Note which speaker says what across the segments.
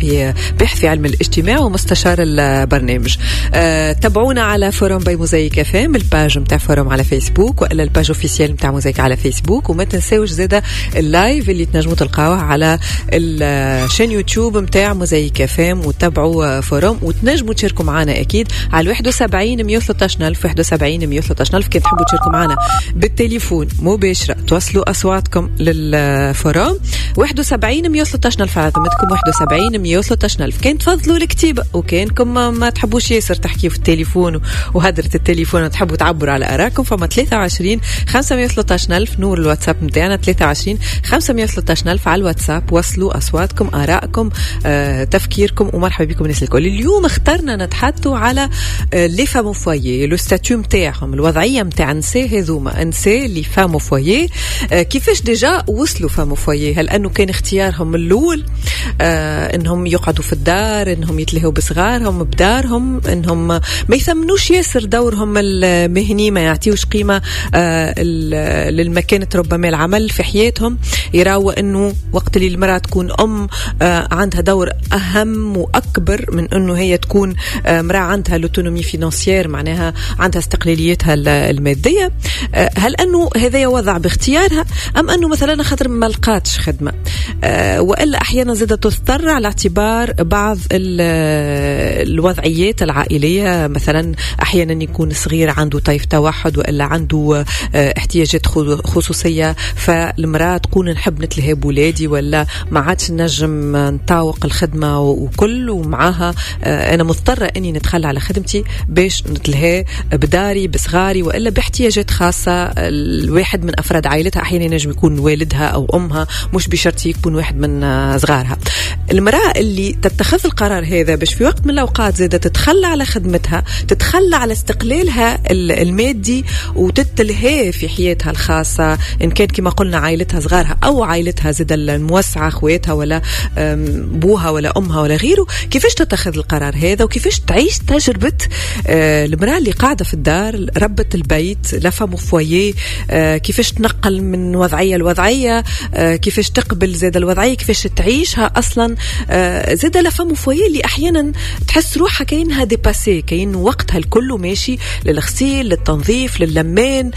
Speaker 1: في باحث في علم الاجتماع ومستشار البرنامج. تابعونا على forum by موزايك اف ام، ال page نتاع forum على فيسبوك والا ال page officielle نتاع موزايك على فيسبوك، وما تنساوش زاده ال live اللي تنجموا تلقاوه على ال chaîne يوتيوب نتاع موزايك اف ام، وتابعوا forum وتنجموا تشاركوا معنا اكيد على 71 113 الف، 71 113 الف. كان تحبوا تشاركوا معنا بالتليفون مباشرة توصلوا اصواتكم لل forum 71 113 الف على ذمتكم، 71 113 الف. كان تفضلوا الكتيبة وكانكم ما تحبوش ياسر تحكيوا في التليفون وهدرة التليفون وتحبوا تعبروا على آراءكم، فما 23 513 ألف نور الواتساب نتاعنا، 23 513 ألف على الواتساب. وصلوا أصواتكم، آرائكم، تفكيركم، ومرحبا بكم الناس الكل. اليوم اخترنا نتحدثوا على les femmes au foyer، le statut نتاعهم، الوضعية نتاع النساء هذوما، نساء les femmes au foyer، كيفاش déjà وصلوا femmes au foyer؟ هل أنه كان اختيارهم الأول انهم يقعدوا في الدار، انهم يتلهوا بصغارهم بدارهم، انهم ما يثمنوش ياسر دورهم المهني، ما يعطيوش قيمة للمكانة ربما العمل في حياتهم، يراوا انه وقت اللي المرأة تكون ام عندها دور اهم واكبر من انه هي تكون امرأة عندها l'autonomie financière، معناها عندها استقلاليتها المادية. هل انه هذا وضع باختيارها ام انه مثلا خاطر ما لقاتش خدمة، والا احيانا زادة تضطر على اعتبار بعض الوضعيات العائلية، مثلا أحيانا يكون صغير عنده طيف توحد وإلا عنده احتياجات خصوصية، فالمرأة تكون نحب نتلهي بولادي ولا ما عادش نجم نطاوق الخدمة وكل، ومعاها أنا مضطرة أني نتخلى على خدمتي باش نتلهي بداري بصغاري وإلا باحتياجات خاصة الواحد من أفراد عائلتها، أحيانا ينجم يكون والدها أو أمها، مش بشرط يكون واحد من صغارها. المرأة اللي تتخذ القرار هذا باش في وقت من الأوقات زادة تتخلى على خدمتها، تتخلى على استقلالها المادي وتتلهي في حياتها الخاصة، إن كان كما قلنا عائلتها صغارها أو عائلتها زادة الموسعة، أخواتها ولا بوها ولا أمها ولا غيره، كيفاش تتخذ القرار هذا وكيفاش تعيش تجربة المرأة اللي قاعدة في الدار ربة البيت la femme au foyer، كيفاش تنقل من وضعية لوضعية، كيفاش تقبل زادة الوضعية، كيفاش تعيشها أصلا. زادة la femme au foyer اللي احيانا تحس روحها كاينها dépassée، كاين وقتها الكل ماشي للغسيل للتنظيف للمان،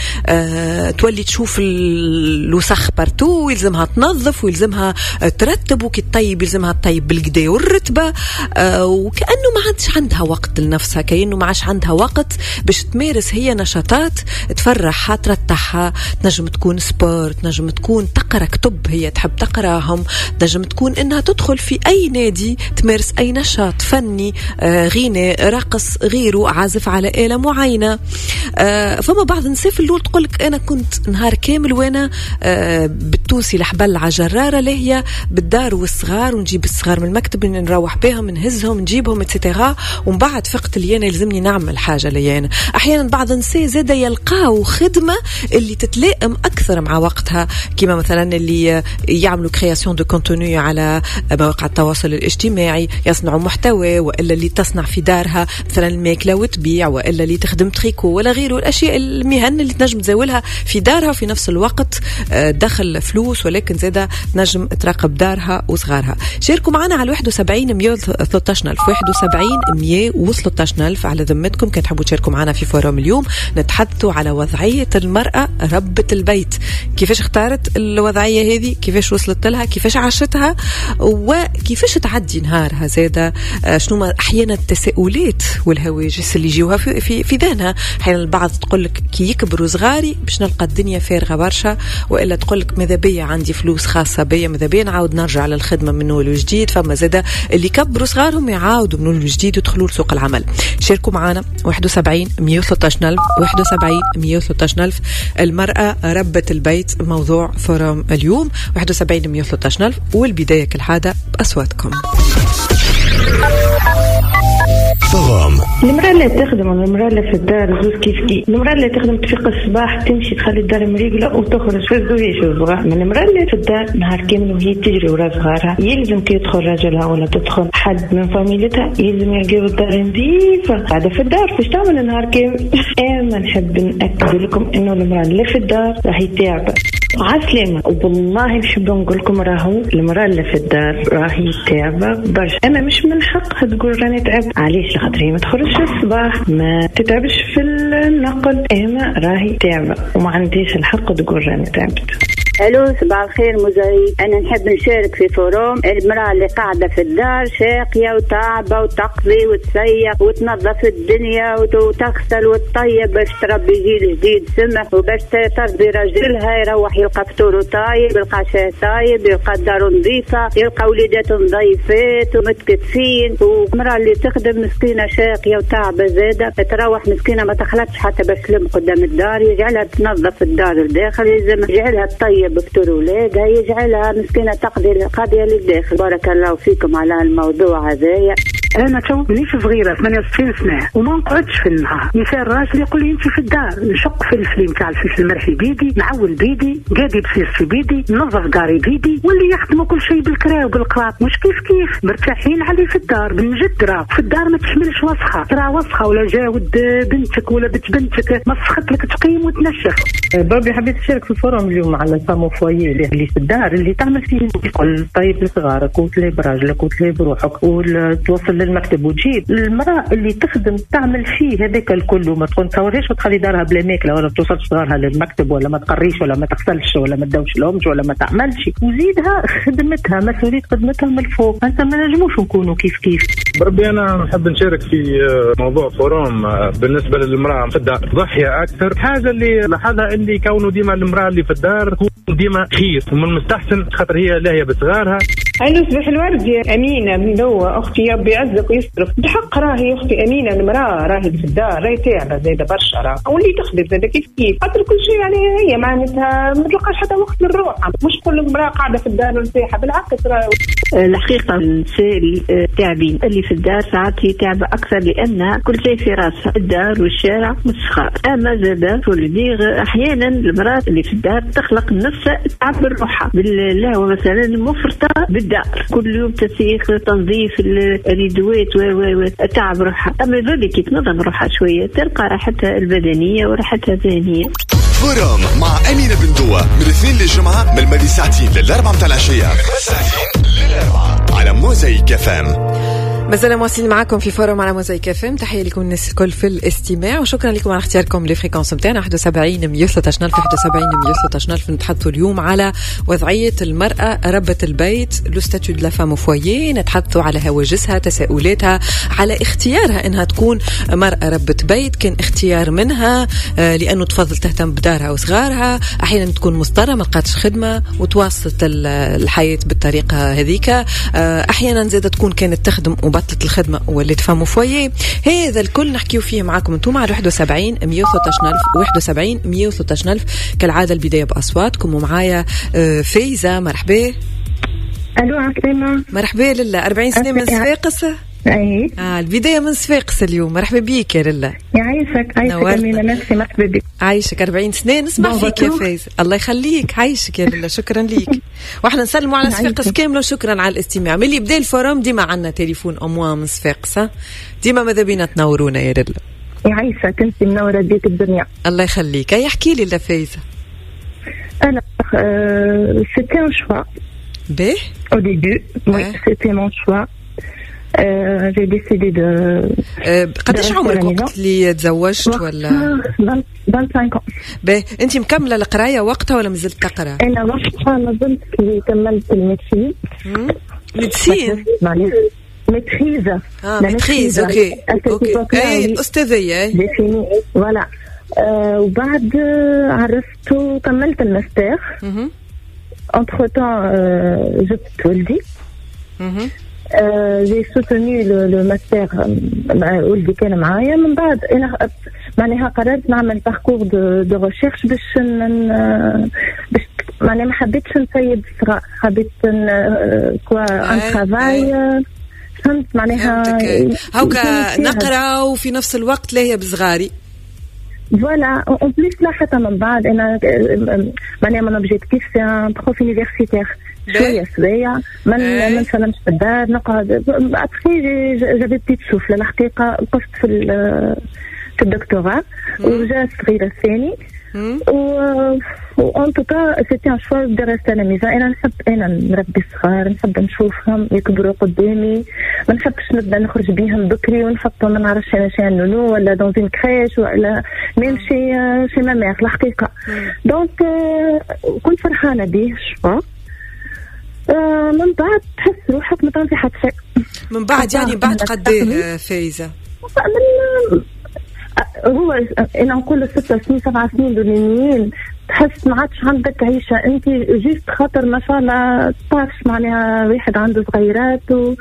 Speaker 1: تولي تشوف الوسخ partout، يلزمها تنظف ويلزمها ترتب، وكي تطيب يلزمها تطيب بالقدا والرتبه، وكانه ما عادش عندها وقت لنفسها، كانه ما عادش عندها وقت باش تمارس هي نشاطات تفرحها ترتاحها، تنجم تكون sport، تنجم تكون تقرا كتب هي تحب تقراهم، تنجم تكون انها تدخل في اي نادي تمارس اي نشاط فني، غناء، رقص، غيره، عازف على آلة معينة. فما بعض النساء في الأول تقولك أنا كنت نهار كامل وأنا بالتونسي الحبل على جرارة لاهية بالدار والصغار، ونجيب الصغار من المكتب نروح بهم نهزهم نجيبهم et cetera، ومن بعد فقت اللي أنا يلزمني نعمل حاجة لي أنا. أحيانا بعض النساء زادة يلقاو خدمة اللي تتلائم أكثر مع وقتها، كما مثلا اللي يعملوا création de contenu على مواقع التواصل الاجتماعي، يصنعوا محتوى، والا اللي تصنع في دارها مثلا الماكلة وتبيع، والا اللي تخدم تريكو ولا غيره، الاشياء المهن اللي تنجم تزاولها في دارها وفي نفس الوقت دخل فلوس، ولكن زاده تنجم تراقب دارها وصغارها. شاركوا معنا على 71 113 ألف، 71 113 ألف على ذمتكم كان تحبوا تشاركوا معنا في forum اليوم. نتحدثوا على وضعية المراة ربة البيت، كيفاش اختارت الوضعية هذه، كيفاش وصلت لها، كيفاش عاشتها، وكيفاش تعدي نهارها زاده، شنو ما احيانا التساؤلات والهواجس اللي يجيوها في ذهنها. احيانا البعض تقول لك كي يكبروا صغاري باش نلقى الدنيا فارغة برشا، والا تقول لك ماذا بيا عندي فلوس خاصة بيا، ماذا بيا نعاود نرجع للخدمة من اول وجديد. فما زاده اللي كبروا صغارهم يعاودوا من اول وجديد يدخلوا لسوق العمل. شاركوا معنا 71 113 ألف، 71 113 ألف. المرأة ربة البيت موضوع forum اليوم، 71 113 ألف، والبداية كالعادة بأصواتكم.
Speaker 2: forum.
Speaker 3: المرأة اللي تخدم والمرأة اللي في الدار زوز كيف كيف. المرأة اللي تخدم تفيق الصباح تمشي تخلي الدار مريقلة وتخرج في الزويش والصغار. من المرأة اللي في الدار نهار كامل وهي تجري ورا صغارها، يلزم كي يدخل راجلها ولا تدخل حد من فاميلتها يلزم يلقاو الدار نظيفة. قاعدة في الدار فاش تعمل نهار كامل؟ أنا نحب نأكد لكم إنه المرأة اللي في الدار راهي تعبة. عسلامة، والله نحب نقول لكم راهو المرأة اللي في الدار راهي تعبة برشا. أما مش من حقها تقول راني تعبت. علاش؟ لخاطر هي ما تخرجش الصباح، ما تتعبش في النقل، أما راهي تعبة وما عنديش الحق تقول راني تعبت.
Speaker 4: الو صباح الخير موزايك. انا نحب نشارك في forum. المراة اللي قاعدة في الدار شاقيه وتعبه وتقضي وتسيق وتنظف الدنيا وتغسل وتطيب باش تربي جيل جديد سمح، وباش تربي راجلها يروح يلقى فطوره طايب، يلقى شاي طايب، يلقى داره نظيفة، يلقى وليداته نظيفات ومتكتفين. والمراة اللي تخدم مسكينه شاقيه وتعبه زاده، تروح مسكينه ما تخلطش حتى باش تلم قدام الدار، يجعلها تنظف الدار الداخل، يجعلها تطيب بفطور ولادها، يجعلها مسكينة تقضي القضية للداخل. بارك الله فيكم على الموضوع هذايا.
Speaker 5: انا تو مانيش صغيرة، 68 سنة وما نقعدش في النهار. مثال راجل يقول لي انت في الدار، نشق في الفليم تاع الفلفل المرحي بيدي، نعول بيدي، قادي بسيرتي بيدي، ننظف داري بيدي، واللي يخدموا كل شيء بالكرا وبالقراط مش كيف كيف، مرتاحين عليه في الدار. بالجد راه في الدار ما تحملش وسخة، ترى وسخة ولا جاود بنتك ولا بنت بنتك مسخت لك تقيم وتنشف.
Speaker 6: بربي حبيت نشارك في ال forum اليوم على ال femme au foyer اللي في الدار، اللي تعمل فيه الكل، طيب لصغارك وتلهي براجلك وتلهي بروحك وتوصل للمكتب وتجيب. المرأة اللي تخدم تعمل فيه هذاك الكل وما تصورهاش وتخلي دارها بلا ماكلة ولا توصلش صغارها للمكتب ولا ما تقريش ولا ما تغسلش ولا ما تدوش لهمش ولا ما تعملش، وزيدها خدمتها مسؤولية خدمتها من الفوق. انت ما نجموش نكونوا كيف كيف.
Speaker 7: بربي انا نحب نشارك في موضوع forum بالنسبة للمرأة في الدار ضحية أكثر. حاجة اللي لاحظها اللي كونه ديما المرأة اللي في الدار ديما خير ومن المستحسن خاطر هي لاهية بصغارها.
Speaker 8: ألو صباح الورد يا أمينة من دوا أختي، ربي يعزك ويسترك. بحق راهي أختي أمينة المرأة راهي في الدار راهي تعبة زايدة برشا، راه واللي تخدم زايدة كيف كيف، خاطر كل شيء يعني هي معناتها ما تلقاش حتى وقت للروح. مش كل امرأة قاعدة في الدار مرتاحة، بالعكس راه
Speaker 9: الحقيقة النساء التعبين اللي في الدار ساعات هي تعبة أكثر لأنها كل شيء في راسها، الدار والشارع والصغار. أما زادة أحيانا المرأة اللي في الدار تخلق نفسها تعبر روحها باللهوة مثلا مفرطة بالدار، كل يوم تسيخ تنظيف الريدوات و تعب روحها. أما ذلك كي تنظم روحها شوية تلقى راحتها البدنية وراحتها الذهنية.
Speaker 2: forum مع أمينة بن دوة من الاثنين للجمعة من الماضي ساعتين للأربعة متاع العشية على موزايك FM.
Speaker 1: مازال مواصلين معكم في forum على موزايك FM. تحية لكم الناس الكل في الاستماع وشكرا لكم على اختياركم les fréquences نتاعنا 71 113 ألف 71 113 ألف. نتحدثوا اليوم على وضعية المرأة ربة البيت، le statut de la femme au foyer. نتحدثوا على هواجسها، تساؤلاتها، على اختيارها انها تكون مرأة ربة بيت، كان اختيار منها لانه تفضل تهتم بدارها وصغارها، احيانا تكون مضطرة ما لقاتش خدمة وتواصلت الحياة بالطريقة هذيك، احيانا زادة تكون كانت تخدم وبطلت الخدمة ولات femme au foyer. هذا الكل نحكيو فيه معاكم انتم على 71 113 ألف 71 113 ألف. كالعادة البداية بأصواتكم ومعايا فايزة. مرحبا.
Speaker 10: الو عسلامة.
Speaker 1: مرحبا لله. 40 سنة من صفاقس.
Speaker 10: اي
Speaker 1: البداية من صفاقس اليوم. مرحبا بيك يا لله.
Speaker 10: يعيشك عايشك أمينة، نفسي مرحبا بك.
Speaker 1: عايشك 40 سنة نسمع فيك يا فايزة. الله يخليك، عايشك يا لله، شكرا ليك. واحنا نسلموا على صفاقس كاملة وشكرا على الاستماع. ملي بدا ال forum ديما عندنا تليفون au moins من صفاقس، ديما ماذا بينا تنورونا يا لله.
Speaker 10: يعيشك، انت منورة بيك الدنيا.
Speaker 1: الله يخليك. اي احكي لي فايزة.
Speaker 10: انا c'était un choix.
Speaker 1: باهي.
Speaker 10: Au début, oui, c'était mon choix. J'ai décidé de.
Speaker 1: قداش عمرك وقت اللي تزوجت ولا؟
Speaker 10: 25 ans.
Speaker 1: باهي، انت مكملة القراية وقتها ولا مازلت تقرا؟
Speaker 10: انا وقتها مازلت كي كملت ال médecine.
Speaker 1: médecine؟
Speaker 10: maîtrise.
Speaker 1: maîtrise، OK OK. اي الاستاذية.
Speaker 10: voilà. وبعد عرفت وكملت ال master. Entre-temps جبت ولدي. J'ai soutenu le master مع ولدي كان معايا. من بعد انا معناها قررت نعمل parcours de recherche باش معناها ما حبيتش نسيب الصغار، حبيت quoi un travail فهمت معناها؟
Speaker 1: هاكا نقرا وفي نفس الوقت لاهية بصغاري.
Speaker 10: voilà، en plus لا حتى من بعد انا معناها mon objectif c'est un prof universitaire، شوية شوية ما نسلمش في الدار، نقعد. après j'avais petit souffle الحقيقه، وقفت في الدكتوراه وجا الصغير الثاني، و en tout cas c'était un choix de rester à la maison. انا نحب انا نربي الصغار، نحب نشوفهم يكبروا قدامي، ما نحبش نبدا نخرج بيهم بكري ونحطهم ما نعرفش انا chez nounou ولا dans une crèche ولا même chez ma mère الحقيقه. donc كنت فرحانة به choix. من بعد تحس روحك ما تعمل في حتى شيء.
Speaker 1: من بعد يعني بعد قد فايزه؟
Speaker 10: هو انا نقول 6 سنين 7 سنين الاولانيين تحس ما عادش عندك عيشه انت، juste خاطر ما شاء الله تعرفش معناها واحد عنده صغيرات و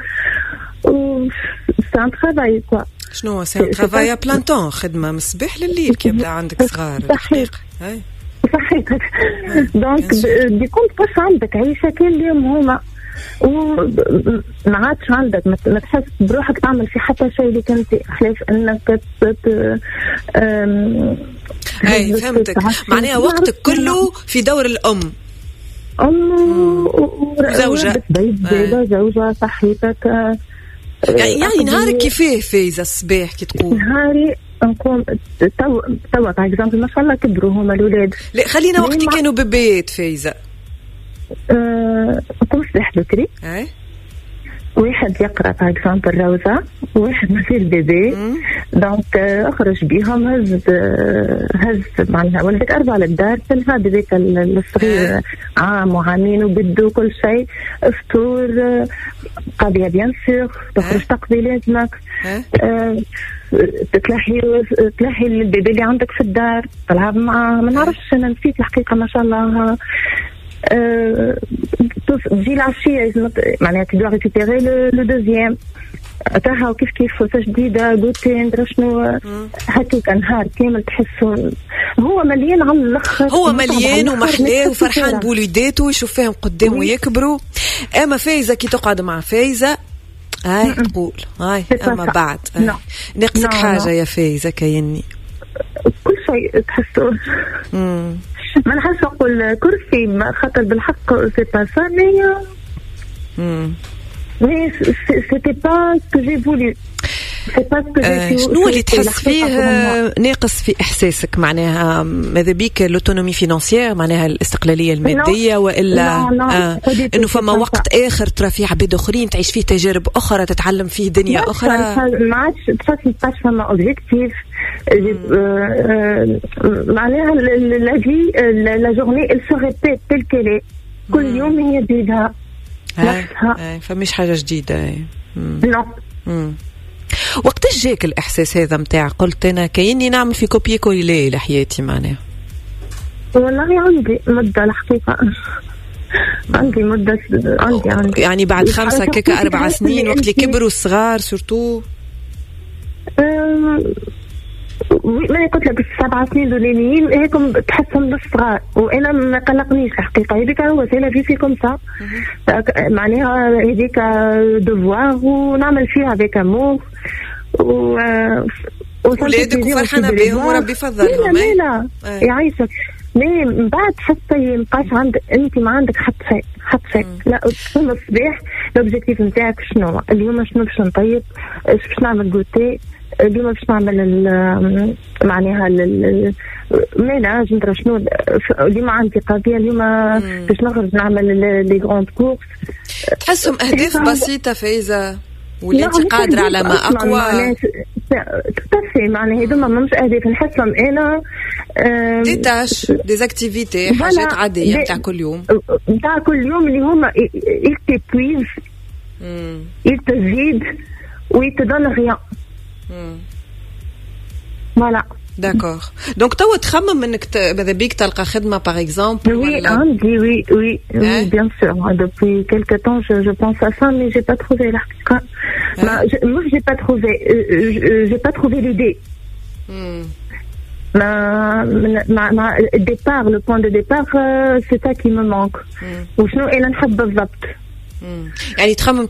Speaker 10: c'est un travail quoi.
Speaker 1: شنو c'est un travail à plein temps، خدمة من الصباح لليل كي يبدا عندك صغار.
Speaker 10: صحيح صحيح، donc du coup تبقاش عندك عيشه كان اليوم هما، وما عادش عندك ما تحس بروحك تعمل في حتى شيء اللي كنت خلاف انك
Speaker 1: اي فهمتك، معناها وقتك كله في دور الام.
Speaker 10: ام
Speaker 1: وزوجة.
Speaker 10: بيت، زوجة، صحيتك.
Speaker 1: يعني نهارك كيفاه فايزة الصباح كي تقوم؟
Speaker 10: نهاري نقوم توا par exemple ما شاء الله كبروا هما الاولاد.
Speaker 1: لا، خلينا وقت كانوا bébé ات فايزة.
Speaker 10: نقوم الصباح بكري. واحد يقرا par exemple الروضه، وواحد مازال bébé، donc اخرج بيهم، هز هز معناها ولدك 4 للدار تلها bébé الصغير عام وعامين وبدو كل شيء، فطور، قضية bien sûr، تخرج تقضي لازمك، تتلهي تلهي ال bébé اللي عندك في الدار، تلعب معاه، ما نعرفش انا نسيت الحقيقه، ما شاء الله. تجي العشية معناها tu dois récupérer le deuxième تاعها، وكيف كيف فوسه جديده، goûter، ندرا شنو، هكاك نهار كامل تحسه هو مليان على الاخر.
Speaker 1: هو مليان ومحلاه وفرحان بوليداته، يشوف فيهم قدامه يكبروا. اما فايزه كي تقعد مع فايزه هاي تقول هاي اما بعد ناقصك حاجة يا فايزه كايني.
Speaker 10: كل شيء تحسه، ما نحبش نقول كرسي خاطر بالحق c'est pas ça، mais c'était pas ce que j'ai voulu.
Speaker 1: شنو اللي تحس فيه ناقص في احساسك؟ معناها ماذا بيك l'autonomie financière، معناها الاستقلالية الماديه، والا انه فما وقت اخر ترى فيه عباد اخرين، تعيش فيه تجارب اخرى، تتعلم فيه دنيا اخرى؟
Speaker 10: ما عادش تحس ما فما objectif، معناها la vie، la journée elle se répète telle quelle، كل يوم هي بيدها
Speaker 1: نفسها. فمش حاجة جديده.
Speaker 10: non.
Speaker 1: وقتاش جاك الاحساس هذا نتاع قلت انا كايني نعمل في copier-coller لحياتي معناها؟
Speaker 10: والله عندي مده الحقيقه، عندي مده، عندي
Speaker 1: يعني بعد 5 كيكا 4 سنين وقت اللي كبروا الصغار surtout؟
Speaker 10: ما قلت لك ال7 سنين الاولانيين هيكم تحسهم بالصغار، وانا ما قلقنيش الحقيقه، هذيك هو c'est la vie، c'est comme ça، معناها هذيك devoir ونعمل فيها avec amour و
Speaker 1: ولادك وفرحانه بهم وربي يفضلهم.
Speaker 10: لا لا يعيشك، mais من بعد حتى يبقاش عندك انت ما عندك حتى شيء، حتى شيء. لا، تقوم الصباح l'objectif نتاعك شنو اليوم؟ شنو باش نطيب؟ باش نعمل goûter اليوم؟ باش نعمل معناها ménage، ندرا شنو، اليوم عندي قضيه، اليوم باش نخرج نعمل les grandes courses.
Speaker 1: تحسهم اهداف بسيطة فايزه ولا انت قادرة على ما اقوى؟
Speaker 10: tout à fait، معناها هذوما مش اهداف نحسهم انا.
Speaker 1: des tâches، des activités، حاجات عادية نتاع كل يوم.
Speaker 10: نتاع كل يوم اللي هما ils t'épuisent، ils te vident و ils te donnent rien. voilà.
Speaker 1: d'accord، donc توا تخمم انك ماذا بيك تلقى خدمة par exemple؟
Speaker 10: oui، عندي، oui، bien sûr، depuis quelque temps je pense à ça، mais j'ai pas trouvé الحقيقه. moi j'ai pas trouvé، j'ai pas trouvé l'idée. ما ال départ، le point de départ، c'est ça qui me manque. وشنو انا نحب بالضبط.
Speaker 1: يعني تخمم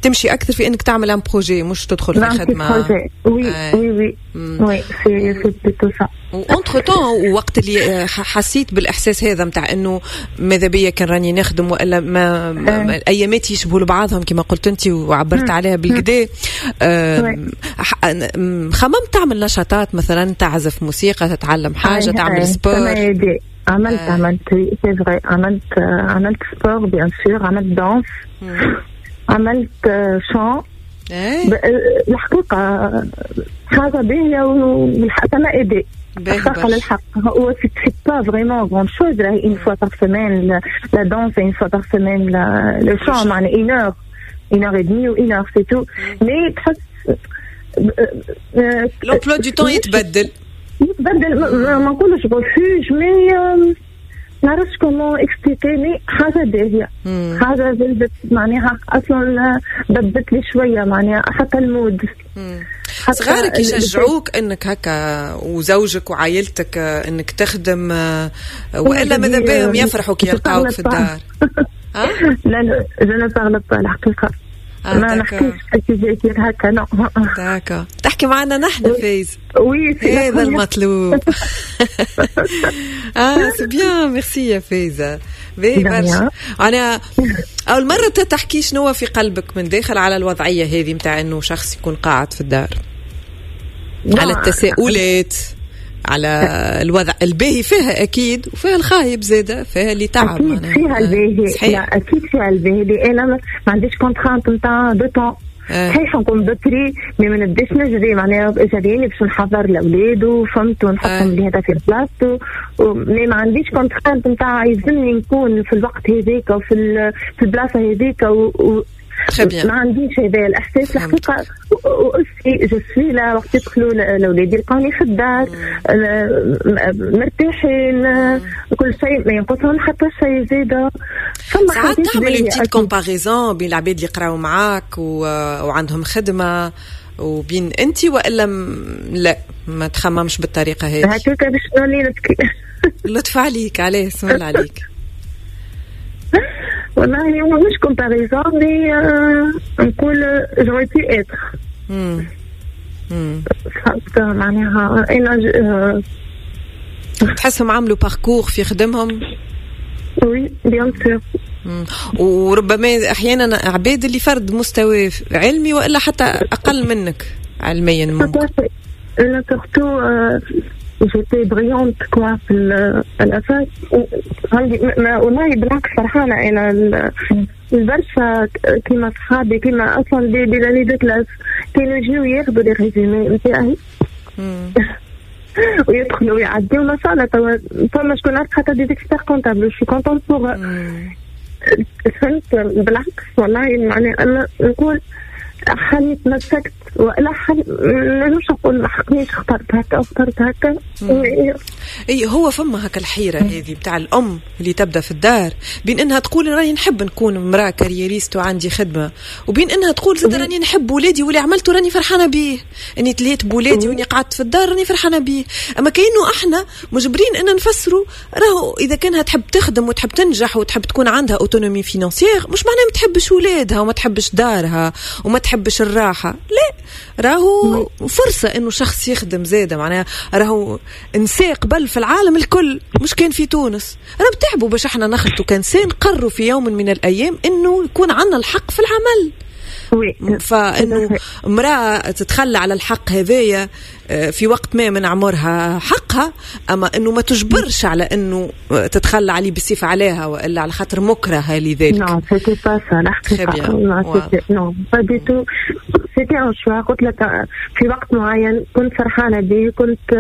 Speaker 1: تمشي اكثر في انك تعمل un projet، مش تدخل في خدمه.
Speaker 10: oui oui oui oui، c'est plutôt ça.
Speaker 1: entre-temps وقت اللي حسيت بالاحساس هذا نتاع انه ماذا بيا كان راني نخدم، والا ما الايامات يشبهوا لبعضهم كما قلت انت وعبرت عليها بالكدا، خممت تعمل نشاطات، مثلا تعزف موسيقى، تتعلم حاجه، تعمل sport؟
Speaker 10: عملت، c'est vrai، عملت sport bien sûr، عملت danse، عملت chant. الحقيقة حاجة باهيه والحق m'a aidée الحق للحق. هو c'est pas vraiment grande chose، une fois par semaine la danse، une fois par semaine le chant، معناها une heure، une heure et demie ou une heure، c'est tout، mais تحس
Speaker 1: l'emploi du temps يتبدل.
Speaker 10: يتبدل، ما نقولش refuge، mais نعرفش comment expliquer، mais حاجة باهية، حاجة زادت معناها أصلا بدلت لي شوية معناها حتى ال mood.
Speaker 1: صغارك يشجعوك انك هكا، وزوجك وعائلتك، انك تخدم، والا ماذا بهم يفرحوا كي يلقاوك في الدار؟
Speaker 10: لا لا، je ne parle pas الحقيقة. ما نحكيش في هكا، non.
Speaker 1: d'accord، تحكي معنا نحن فايز.
Speaker 10: oui.
Speaker 1: هذا المطلوب. C'est bien، merci يا فايزه، باهي برشا. انا اول مرة تحكي شنو في قلبك من داخل على الوضعية هذه نتاع انه شخص يكون قاعد في الدار، على التساؤلات، على الوضع الباهي فيها اكيد وفيها الخايب زاده، فيها اللي تعب.
Speaker 10: اكيد فيها الباهي، لا اكيد فيها الباهي اللي انا ما عنديش contrainte نتاع de temps. صحيح نقوم بكري mais ما نبداش نجري، معناها جريني باش نحضر الاولاد وفهمت ونحطهم اللي هذا في بلاصتو، mais ما عنديش contrainte نتاع يلزمني نكون في الوقت هذاك وفي في البلاصة هذيك ما عنديش هذا الاحساس الحقيقه. aussi je suis là وقت يدخلوا الاولاد يلقوني في الدار مرتاحين، كل شيء ما ينقصهم حتى شيء زاده.
Speaker 1: ساعات تعمل petite comparaison بين العباد اللي يقراو معاك وعندهم خدمة وبين انت، والا لا ما تخممش بالطريقة هذه؟
Speaker 10: هكاك باش نولي نبكي.
Speaker 1: لطف عليك، عليه اسم الله عليك.
Speaker 10: والله مش comparaison، mais نقول j'aurais pu être، فهمت معناها انا.
Speaker 1: تحسهم عملوا parcours في خدمهم؟
Speaker 10: oui bien sûr.
Speaker 1: وربما احيانا عباد اللي فرد مستوى علمي والا حتى اقل منك علميا ممكن.
Speaker 10: انا surtout j'étais brillante quoi في ال fac عندي، والله بالعكس فرحانة انا البرشا كيما صحابي، كيما اصلا des amis de classe كانوا يجيو ياخذوا les résumés نتاعي ويدخلوا ويعديو ما شاء الله. توا فما شكون عرف حتى des experts comptables، je suis contente pour، فهمت؟ بالعكس والله معناها انا نقول حالي تمسكت ولا حل، ما نجمش نقول ما حقنيش اخترت هكا اخترت هكا.
Speaker 1: اي هو فما هكا الحيرة هذه بتاع الام اللي تبدا في الدار، بين انها تقول راني نحب نكون امراة carriériste وعندي خدمه، وبين انها تقول زاد راني نحب ولادي واللي عملته راني فرحانة بيه، اني تلهيت بولادي واني قعدت في الدار راني فرحانة بيه. اما كانه احنا مجبرين ان نفسروا راهو اذا كانها تحب تخدم وتحب تنجح وتحب تكون عندها autonomie financière، مش معناها ما تحبش ولادها وما تحبش دارها وما تحبش الراحة، لا راهو فرصة انه شخص يخدم زاده. معناها راهو نساء قبل في العالم الكل مش كان في تونس راهم تعبوا باش احنا نخلطوا كنساء نقروا في يوم من الايام انه يكون عندنا الحق في العمل. فانه امراة تتخلى على الحق هذايا في وقت ما من عمرها حقها، اما انه ما تجبرش على انه تتخلى عليه بالسيف عليها والا على خاطر مكرهه لذلك.
Speaker 10: non c'était pas ça الحقيقة، non pas du tout، c'était un choix. قلت لك في وقت معين كنت فرحانة به، كنت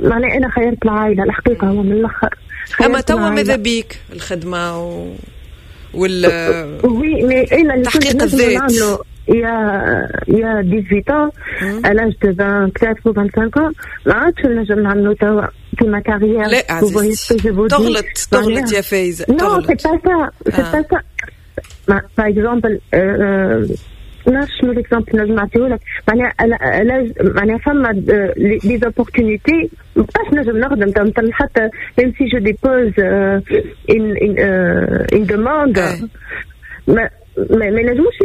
Speaker 10: معناها انا خيرت العائلة الحقيقة هو من الاخر.
Speaker 1: اما توا ماذا بيك الخدمة وال
Speaker 10: oui mais انا اللي
Speaker 1: تحقيق الذات
Speaker 10: il y a 18 ans، à l'âge de 24 ou 25 ans، ما عادش نجم نعملو توا في ma carrière.
Speaker 1: لا عزيزتي تغلط تغلط يا فايزة.
Speaker 10: non c'est pas ça، c'est pas ça. par exemple نعرفش شنو l'exemple نجم نعطيهولك، معناها معناها فما les opportunités مابقاش نجم نخدم حتى même si je dépose une demande. ما ينجموش،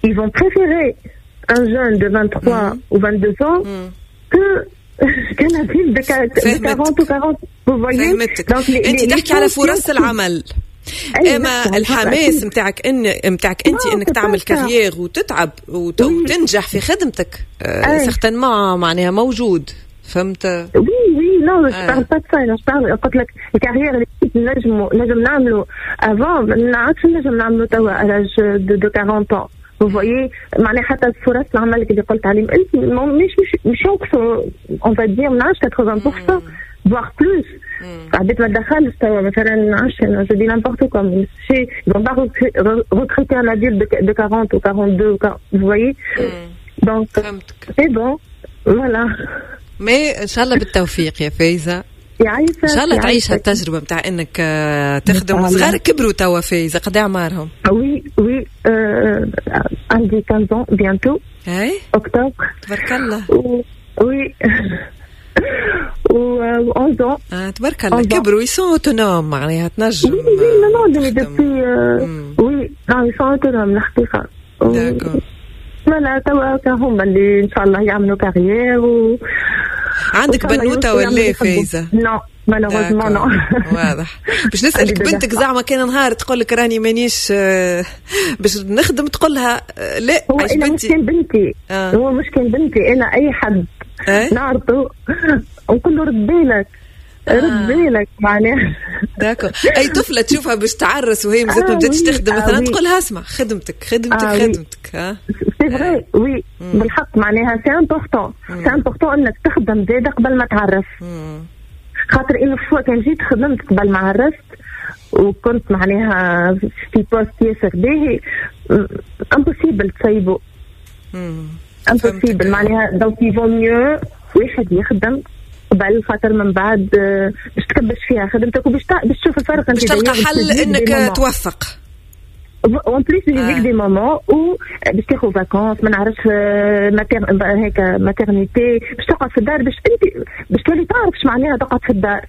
Speaker 10: ils vont préférer un jeune de 23 ou 22 ans que qu'un adulte de 40 ou 40. Vous voyez؟
Speaker 1: انت تحكي على فرص العمل، اما الحماس نتاعك ان نتاعك انت انك تعمل carrière وتتعب وتنجح في خدمتك certainement معناها موجود. فهمت؟
Speaker 10: oui oui non je parle pas de ça، je parle قلت لك ال carrière اللي نجم نعملو avant ما عادش نجم نعملو توا à l'âge de 40 ans. Vous voyez، معناها حتى فرص العمل اللي قلت عليهم انت مش ينقصوا on va dire من 80% voire plus. عبيت ما تدخلش توا مثلا 10 je dis n'importe quoi، mais ils vont pas recruter un adulte de 40 ou 42, vous voyez. Donc c'est bon voilà.
Speaker 1: mais ان شاء الله بالتوفيق يا فايزه،
Speaker 10: يعيشك
Speaker 1: ان شاء الله تعيش هالتجربه نتاع انك تخدم. صغارك كبروا توا فايزه، قد اعمارهم؟
Speaker 10: oui oui عندي 15 ans bientôt.
Speaker 1: اي
Speaker 10: اكتوبر.
Speaker 1: تبارك الله.
Speaker 10: oui و 11 ans.
Speaker 1: تبارك الله كبروا، ils sont autonomes معناها تنجم.
Speaker 10: oui oui non non depuis oui non ils sont autonomes الحقيقة.
Speaker 1: d'accord
Speaker 10: voilà توا هما اللي ان شاء الله يعملوا carrière. و
Speaker 1: عندك بنوته ولا فايزه؟
Speaker 10: non malheureusement non.
Speaker 1: واضح. باش نسالك بنتك زعما كان نهار تقول لك راني مانيش باش نخدم، تقول لها لا؟
Speaker 10: هو انا مش كان بنتي، هو مش كان بنتي، انا اي حد نعرفه نقول له رد بالك، رد بالك معناها.
Speaker 1: d'accord. اي طفله تشوفها باش تعرس وهي مازالت ما بداتش تخدم مثلا، تقول لها اسمع خدمتك خدمتك خدمتك. ها
Speaker 10: c'est vrai oui بالحق معناها c'est important، c'est important انك تخدم زاده قبل ما تعرس. خاطر une fois كان جيت خدمت قبل ما عرست وكنت معناها في poste ياسر باهي، impossible تسيبو، impossible معناها. donc il vaut mieux واحد يخدم قبل، خاطر من بعد باش تكبش فيها خدمتك وباش تشوف الفرق،
Speaker 1: باش تلقى حل انك توفق.
Speaker 10: en plus يجيك des moments où باش تاخذ vacances، ما نعرفش هيك maternité، باش تقعد في الدار، باش انت باش تولي تعرف اش معناها تقعد في الدار.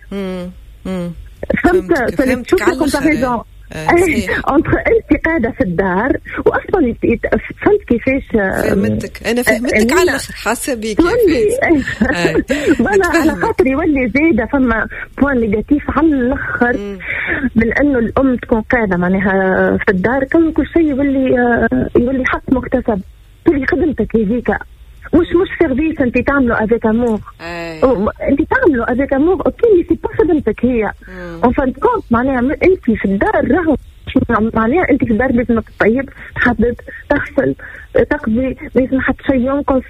Speaker 10: فهمت؟ تشوف ال comparaison entre انت قاعدة في الدار واصلا. فهمت كيفاش؟
Speaker 1: فهمتك، انا فهمتك على الاخر، حاسه بيك.
Speaker 10: voilà على خاطر يولي زاده فما point négatif على الاخر من انه الام تكون قاعدة معناها في الدار، كل شيء يولي حق مكتسب، تولي خدمتك هذيك مش service انت تعمله avec amour، انت تعمله avec amour OK، mais c'est pas خدمتك هي en fin de compte. معناها انت في الدار راهو معناها انت في الدار لازمك تطيب، تحدد، تغسل، تقضي، ما لازم حتى شيء ينقص.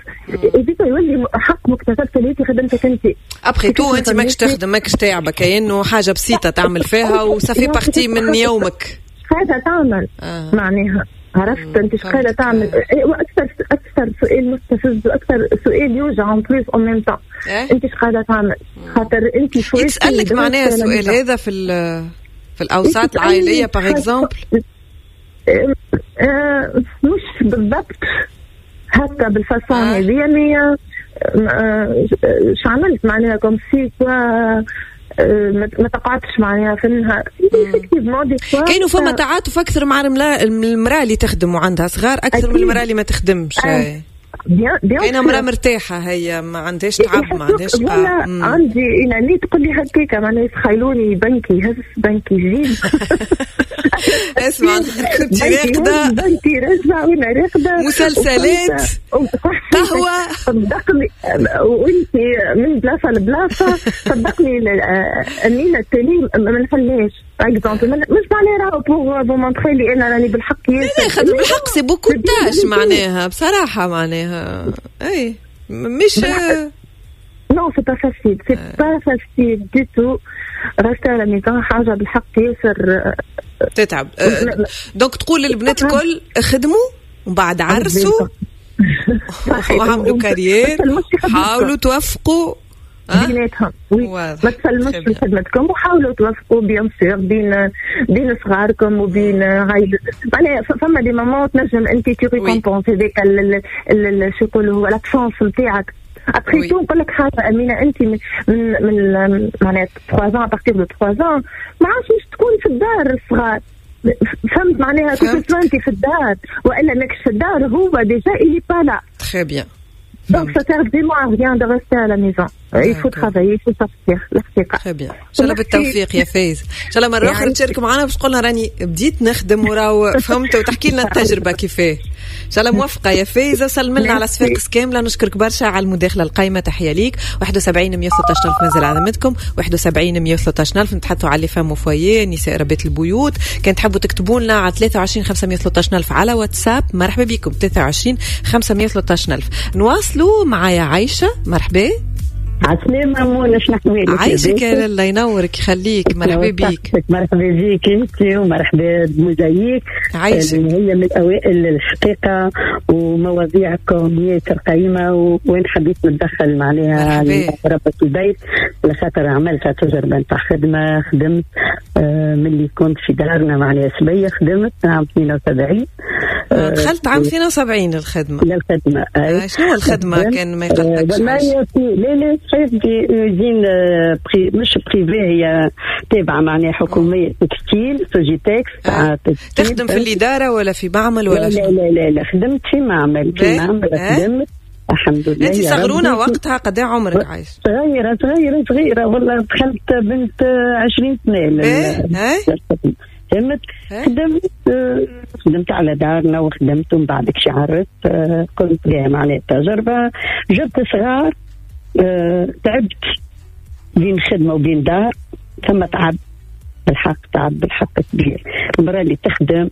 Speaker 10: هذيك يولي حق مكتسب اللي خدمتك انت.
Speaker 1: après tout انت ماكش تخدم، ماكش تعبك، كأنه حاجة بسيطة تعمل فيها و ça fait partie من يومك.
Speaker 10: هذا تعمل معناها عرفت انت اش قاعدة تعمل. واكثر اكثر سؤال مستفز واكثر سؤال يوجع en plus en même temps، انت اش قاعدة تعمل؟ خاطر انت
Speaker 1: يتسالك معناها السؤال هذا في الاوساط العائلية par exemple؟
Speaker 10: مش بالضبط هكا بال façon هذه، mais اش عملت معناها comme si quoi ما تقعدش معناها في النهار.
Speaker 1: كاينوا فما تعاطف اكثر مع المراة اللي تخدم وعندها صغار اكثر من المراة اللي ما تخدمش. كاينه مراة مرتاحة هي ما عندهاش تعب، ما عندهاش.
Speaker 10: عندي انا اللي تقول لي هكاك معناها يتخيلوني بنكي يهز بنكي يجيب.
Speaker 1: اسمع كنت راقده،
Speaker 10: بنكي رجع وانا راقده،
Speaker 1: مسلسلات، قهوة،
Speaker 10: صدقني وانت من بلاصة لبلاصه. صدقني امينه التالي ما نخليهاش exemple، مش معناها راهو pour vous montrer لي انا راني بالحق.
Speaker 1: لا خاطر بالحق c'est beaucoup de tâches معناها بصراحة معناها اي مش
Speaker 10: non c'est pas facile، c'est pas facile du tout. rester à la maison حاجة بالحق ياسر
Speaker 1: تتعب. donc تقول للبنات الكل خدموا ومن بعد عرسوا وعملوا carrière، حاولوا توفقوا
Speaker 10: بيناتهم، ما تسلموش في خدمتكم وحاولوا توفقوا bien sûr بين صغاركم وبين عائلتكم. معناها فما des moments تنجم انت tu récompenses هذاك شو يقولوا l'absence نتاعك. après tout نقول لك حاجة امينه، انت من معناها 3 ans، à partir de 3 ans ما عادش تكون في الدار الصغار، فهمت معناها؟ كنت انت في الدار والا ماكش في الدار، هو déjà il est pas là.
Speaker 1: Très bien.
Speaker 10: Donc ça sert vraiment à rien de rester à la maison. Il faut travailler, il faut sortir. الحقيقة.
Speaker 1: Très bien. إن شاء الله بالتوفيق يا فايز. إن شاء الله مرة أخرى تشارك معنا باش تقولنا راني بديت نخدم وراو فهمت، وتحكي لنا التجربة كيفاه. إن شاء الله موفقة يا فايزة، وسلم لنا على صفاقس كاملة. نشكرك برشا على المداخلة القايمة، تحية ليك. 71 116 ألف منزل على ذمتكم، 71 113 ألف. نتحدثوا على les femmes au foyer، نساء ربات البيوت. كان تحبوا تكتبوا لنا على 23 513 ألف على واتساب، مرحبا بكم. 23 513 ألف. نواصلوا معايا عايشة، مرحبا.
Speaker 11: عسلامة منى، شنو احوالك؟
Speaker 1: عايشك الله ينورك يخليك، مرحبا بيك.
Speaker 11: مرحبا بيك انت ومرحبا بموزايك.
Speaker 1: عايشك.
Speaker 11: هي من الاوائل الحقيقة، ومواضيعكم ياسر قيمة، وين حبيت نتدخل معناها ربة البيت، لخاطر عملت تجربة نتاع خدمة. خدمت ملي كنت في دارنا معناها صبية، خدمت عام 72.
Speaker 1: دخلت عام 72 للخدمة.
Speaker 11: للخدمة.
Speaker 1: شنو الخدمة كان ما يقلقكش؟
Speaker 11: لا لا صحيح، في usine مش privée، هي تابعة معناها حكومية، textile Sogitex.
Speaker 1: تخدم في الإدارة ولا في معمل ولا؟
Speaker 11: لا لا لا لا، خدمت في معمل. في معمل خدمت الحمد لله.
Speaker 1: انت صغرونة وقتها، قد عمرك عايش؟
Speaker 11: صغيرة صغيرة صغيرة والله، دخلت بنت 20 سنة. فهمت؟ خدمت على دارنا وخدمت، ومن بعد كي عرست قلت لها معناها التجربة، جبت صغار، تعبت بين خدمة وبين دار، ثم تعب بالحق، تعب بالحق كبير. المرأة اللي تخدم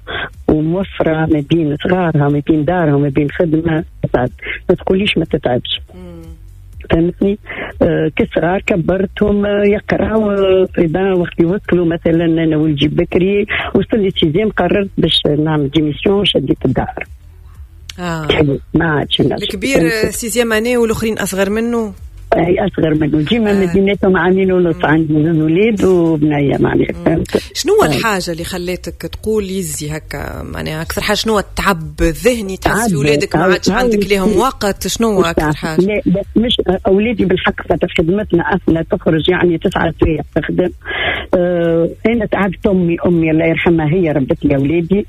Speaker 11: وموفرة ما بين صغارها ما بين دارها وما بين خدمة تتعب، ما تقوليش ما تتعبش. فهمتني؟ كصغار كبرتهم يقراو وقت يوصلوا مثلا، انا ولدي بكري وصل لي sixième، قررت باش نعمل démission، شديت الدار. ما عادش.
Speaker 1: الكبير sixième année والاخرين اصغر منه؟
Speaker 11: اي اصغر منه، ديما مدينتهم عامين ونص، عندي زوج ولاد وبنيه معناها. فهمت؟
Speaker 1: شنو الحاجة اللي خلاتك تقول يزي هكا معناها؟ اكثر حاجة شنو التعب الذهني تحس في ولادك ما عادش عندك ليهم وقت؟ شنو اكثر حاجة؟
Speaker 11: لا مش اولادي بالحق، خاطر خدمتنا اصلا تخرج يعني 9 سوايع تخدم. انا تعبت، امي الله يرحمها هي ربت لي اولادي،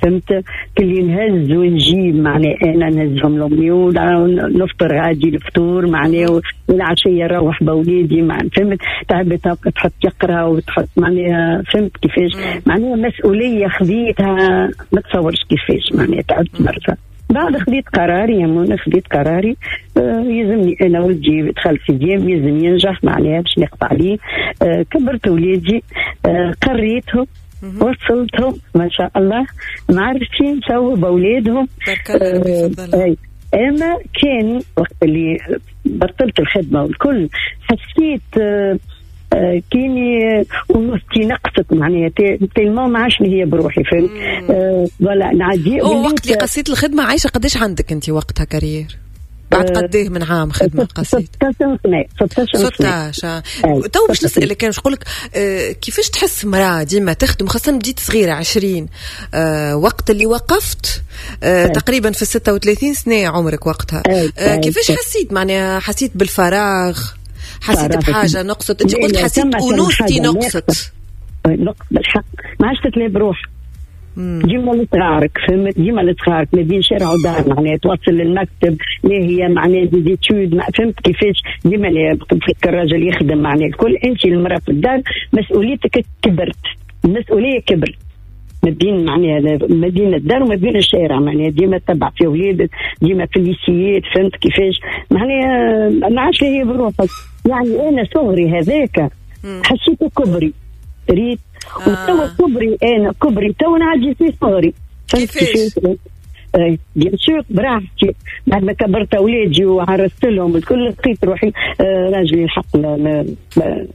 Speaker 11: فهمت؟ كل نهز ونجيب معناها، انا نهزهم لامي ونفطر غادي الفطور معناها، والعشيه نروح بولادي معناها، فهمت؟ تعبت تحط يقرا وتحط معناها، فهمت كيفاش؟ معناها مسؤولية خذيتها ما تصورش كيفاش معناها، تعبت برشا. بعد خذيت قراري يا منى، خذيت قراري يلزمني انا ولدي دخل sixième يلزم ينجح معناها باش نقف عليه. كبرت ولادي، قريتهم، وصلتهم ما شاء الله، معرفتين سووا بأولادهم. أما كان وقت اللي بطلت الخدمة والكل حسيت كيني ونصتي نقصت معناها، tellement ما عادش هي بروحي، فهمت؟ ولا نعدي.
Speaker 1: وقت اللي قصيت الخدمة عايشة قداش عندك أنت وقتها carrière؟ بعد قديه من عام خدمة قصيت؟
Speaker 11: 16 سنة.
Speaker 1: 16. تو باش نسألك، كان نقول لك كيفاش تحس مرأة ديما تخدم، خاصة بديت صغيرة 20، وقت اللي وقفت تقريبا في 36 سنة عمرك وقتها، كيفاش حسيت معناها؟ حسيت بالفراغ؟ حسيت بحاجة نقصت؟ انت قلت حسيت أنوثتي نقصت.
Speaker 11: نقص بالحق، ما عادش تتلاقي بروحك، ديما لصغارك، فهمت؟ ديما لصغارك ما بين شارع ودار معناها، توصل للمكتب لا هي معناها des études، فهمت كيفاش؟ ديما تفكر الراجل يخدم معناها الكل، انت المراة في الدار مسؤوليتك كبرت، المسؤولية كبرت ما بين معناها ما بين الدار وما بين الشارع معناها، ديما تتبع في اولادك، ديما في الليسيات، فهمت كيفاش؟ معناها ما عادش هي بروحك. يعني انا صغري هذاك حسيته كبري، ريت؟ وتوا كبري، انا كبري تو نعدي في صغري.
Speaker 1: كيفاش؟
Speaker 11: bien sûr براحتي، بعد ما كبرت اولادي وعرست لهم الكل لقيت روحي راجلي الحق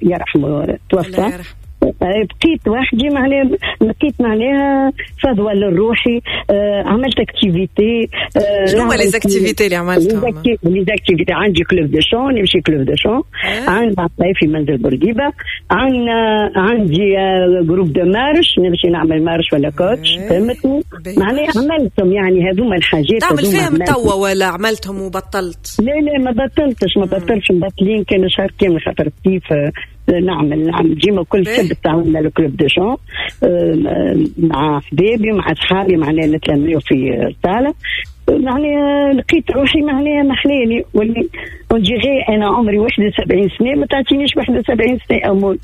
Speaker 11: يرحمه توفى، بقيت وحدي معناها، لقيت معناها فضوى للروحي. عملت activité.
Speaker 1: شنو هما les activités اللي عملتهم؟
Speaker 11: les activités عندي club de chant، نمشي club de chant، عندي في منزل بورقيبة، عندي groupe de marche، نمشي نعمل marche ولا coach، فهمتني؟ معناها عملتهم يعني هذوما الحاجات.
Speaker 1: تعمل فيهم توا ولا عملتهم وبطلت؟
Speaker 11: لا لا ما بطلتش، ما بطلتش، مبطلين كان شهر كامل خاطر كيف نعمل ديما كل سبت عملنا ال club de chant مع حبايبي مع اصحابي، معناها نتلميو في الصاله. معناها لقيت روحي معناها محلاني واللي ونجي انا عمري 71 سنة ما تعطينيش 71 سنة امول.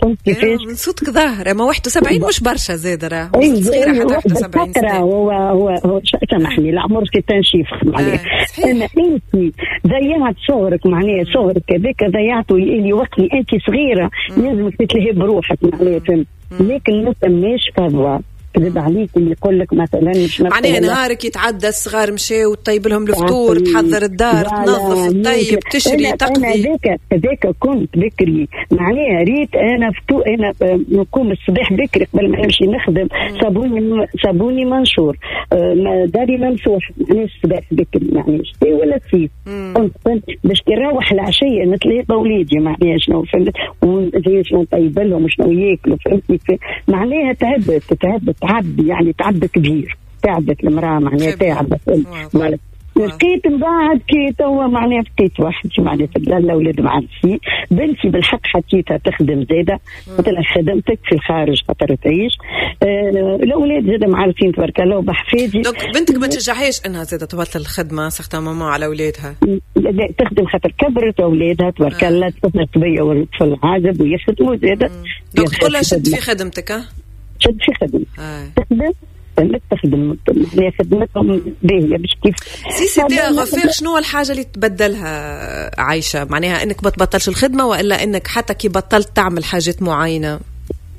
Speaker 1: فهمت كيفاش؟ من صوتك ظاهر اما 71 مش برشا زاد راه صغيرة حتى 71 سنة.
Speaker 11: هو هو هو سامحني العمر c'est un chiffre معناها. اما انت ضيعت صغرك معناها صغرك هذاك ضيعته اللي وقت اللي انت صغيرة لازمك تتلهي بروحك معناها فهمت. لكن ما ثماش فضوى كذب عليك اللي يقول لك مثلا مش
Speaker 1: معناها نهارك يتعدى الصغار مشاو وتطيب لهم الفطور تحضر الدار تنظف تطيب تشري تقضي.
Speaker 11: انا هذاك كنت بكري معناها ريت انا فطور انا نقوم الصباح بكري قبل ما نمشي نخدم صابوني منشور داري ممسوح معناها الصباح بكري معناها شتي ولا صيف كنت باش كي نروح العشية نتلاقى بوليدي معناها شنو فهمت وزي شنو نطيب لهم وشنو ياكلوا فهمتني معناها تعبت تعب يعني تعب كبير تعبت المرأة معناها تعبت. لقيت من بعد كي توا معناها بقيت وحدي معناها في الدار الاولاد معرسين بنتي بالحق حكيتها تخدم زاده قلت لها خدمتك في الخارج خاطر تعيش الاولاد زاده معرسين تبارك الله وبحفادي.
Speaker 1: donc بنتك ما تشجعهاش انها زاده تبطل الخدمة surtout maman على اولادها؟
Speaker 11: لا تخدم خاطر كبرت اولادها تبارك الله تخدم صبية والطفل عازب ويخدموا زاده.
Speaker 1: donc تقول لها شد في خدمتك
Speaker 11: شد في خدمتك تخدم تخدم معناها خدمتهم باهيه باش كيف
Speaker 1: si c'était à refaire. شنو الحاجة اللي تبدلها عايشه؟ معناها انك ما تبطلش الخدمة والا انك حتى كي بطلت تعمل حاجات معينة؟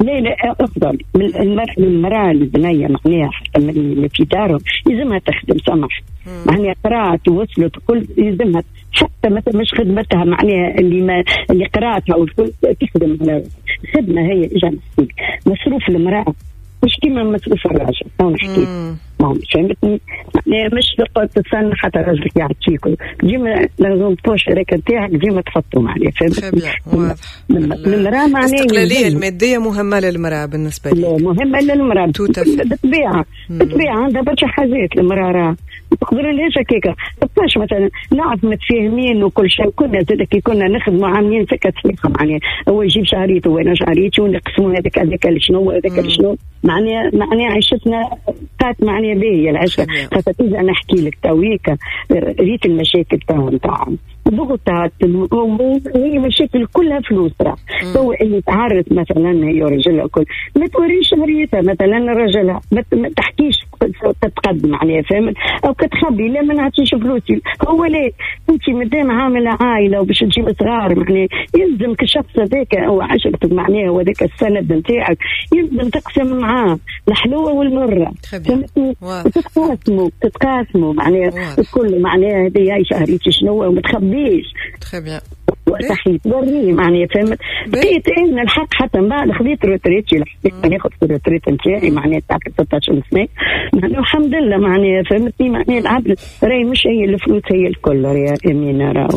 Speaker 11: لا لا افضل من المراة البنية معناها حتى من في دارهم يلزمها تخدم سمح معناها قرات ووصلت كل يلزمها حتى مثلا مش خدمتها معناها اللي قراتها والكل تخدم على خدمة هي اجا نحكي مصروف المراة مش كيما مصروف الراجل تو نحكي ما فهمتني معناها مش تقعد تستنى حتى راجلك يعطيك ديما لازم poche هذاك نتاعك ديما تحطه معناها فهمتني.
Speaker 1: المراة معناها الاستقلالية المادية مهمة للمراة بالنسبة لي
Speaker 11: مهمة للمراة بالطبيعة بالطبيعة عندها برشا حاجات المراة راه ما تقدرلهاش هكاكا تبقاش مثلا نعرف متفاهمين وكل شيء كنا زاد كي كنا نخدموا عاملين سكة صحيحه معناها هو يجيب شهريته وانا شهريتي ونقسموا هذاك شنو وهذاك شنو معناها عيشتنا بقات معناها باهيه العيشة. خاطر تيجي انا نحكي لك تويكا ريت المشاكل تاعهم ضغوطات هي مشاكل كلها فلوس راه تو اللي تعرض مثلا هي ورجلها كل ما توريش شهريتها مثلا رجلها ما تحكيش تتقدم معناها فهمت او كتخبي لا ما نعطيش فلوسي هو لا انت مادام عامله عائلة وباش تجيب صغار معناها يلزمك الشخص هذاك او عشرتك معناها وهذاك السند نتاعك يلزم تقسم معاه الحلوة والمرة فهمتني تتقاسموا معناها الكل معناها هذه شهريتي شنو وما تخبيش
Speaker 1: très bien
Speaker 11: صحيح توريه معناها فهمت. بقيت انا الحق حتى من بعد خذيت retraite الحقيقة ناخذ في ال retraite نتاعي معناها تاع 16 سنة معناها الحمد لله معناها فهمتني معناها العبد راهي مش هي الفلوس هي الكل يا امينه راه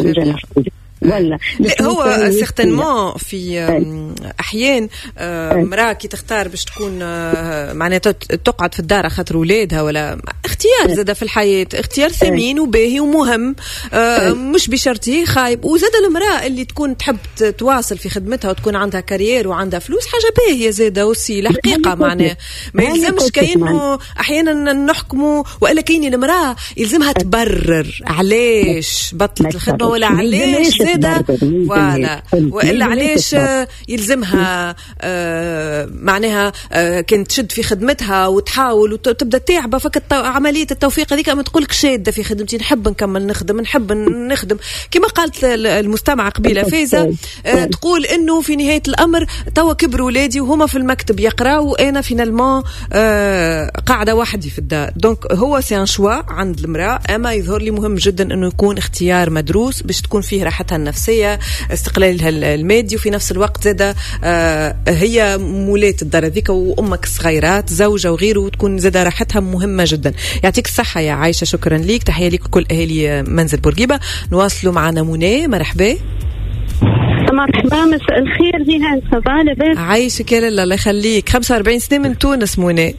Speaker 1: ولا هو certainement في احيان مراة كي تختار باش تكون معناتها تقعد في الدار خاطر ولادها ولا اختيار زاد في الحياة اختيار ثمين وباهي ومهم مش بشرطه خايب. وزاد المراة اللي تكون تحب تواصل في خدمتها وتكون عندها carrière وعندها فلوس حاجة باهيه زاده aussi الحقيقة معناها ما يلزمش كأنه احيانا نحكموا والا كاين المراة يلزمها تبرر علاش بطلت الخدمة ولا علاش voilà والا علاش يلزمها معناها كانت تشد في خدمتها وتحاول وتبدا تعبه فك عملية التوفيق هذيك ما تقولك شاده في خدمتي نحب نكمل نخدم نحب نخدم كما قالت المستمعة قبيلة فايزه تقول انه في نهاية الامر توا كبروا ولادي وهما في المكتب يقراوا وانا finalement قاعدة وحدي في الدار. donc هو c'est un choix عند المراة اما يظهر لي مهم جدا انه يكون اختيار مدروس باش تكون فيه راحتها النفسية استقلالها المادي وفي نفس الوقت زادة هي مولاة الدار هذيك وأمك الصغيرات زوجة وغيره وتكون زادة راحتها مهمة جدا. يعطيك الصحة يا عايشة شكرا ليك تحية ليك وكل أهالي منزل بورقيبة. نواصلوا معنا منى مرحبا.
Speaker 12: مرحبا مساء الخير جيهان ça va لاباس؟
Speaker 1: عايشك يا لاله الله يخليك. 45 سنة من تونس منى.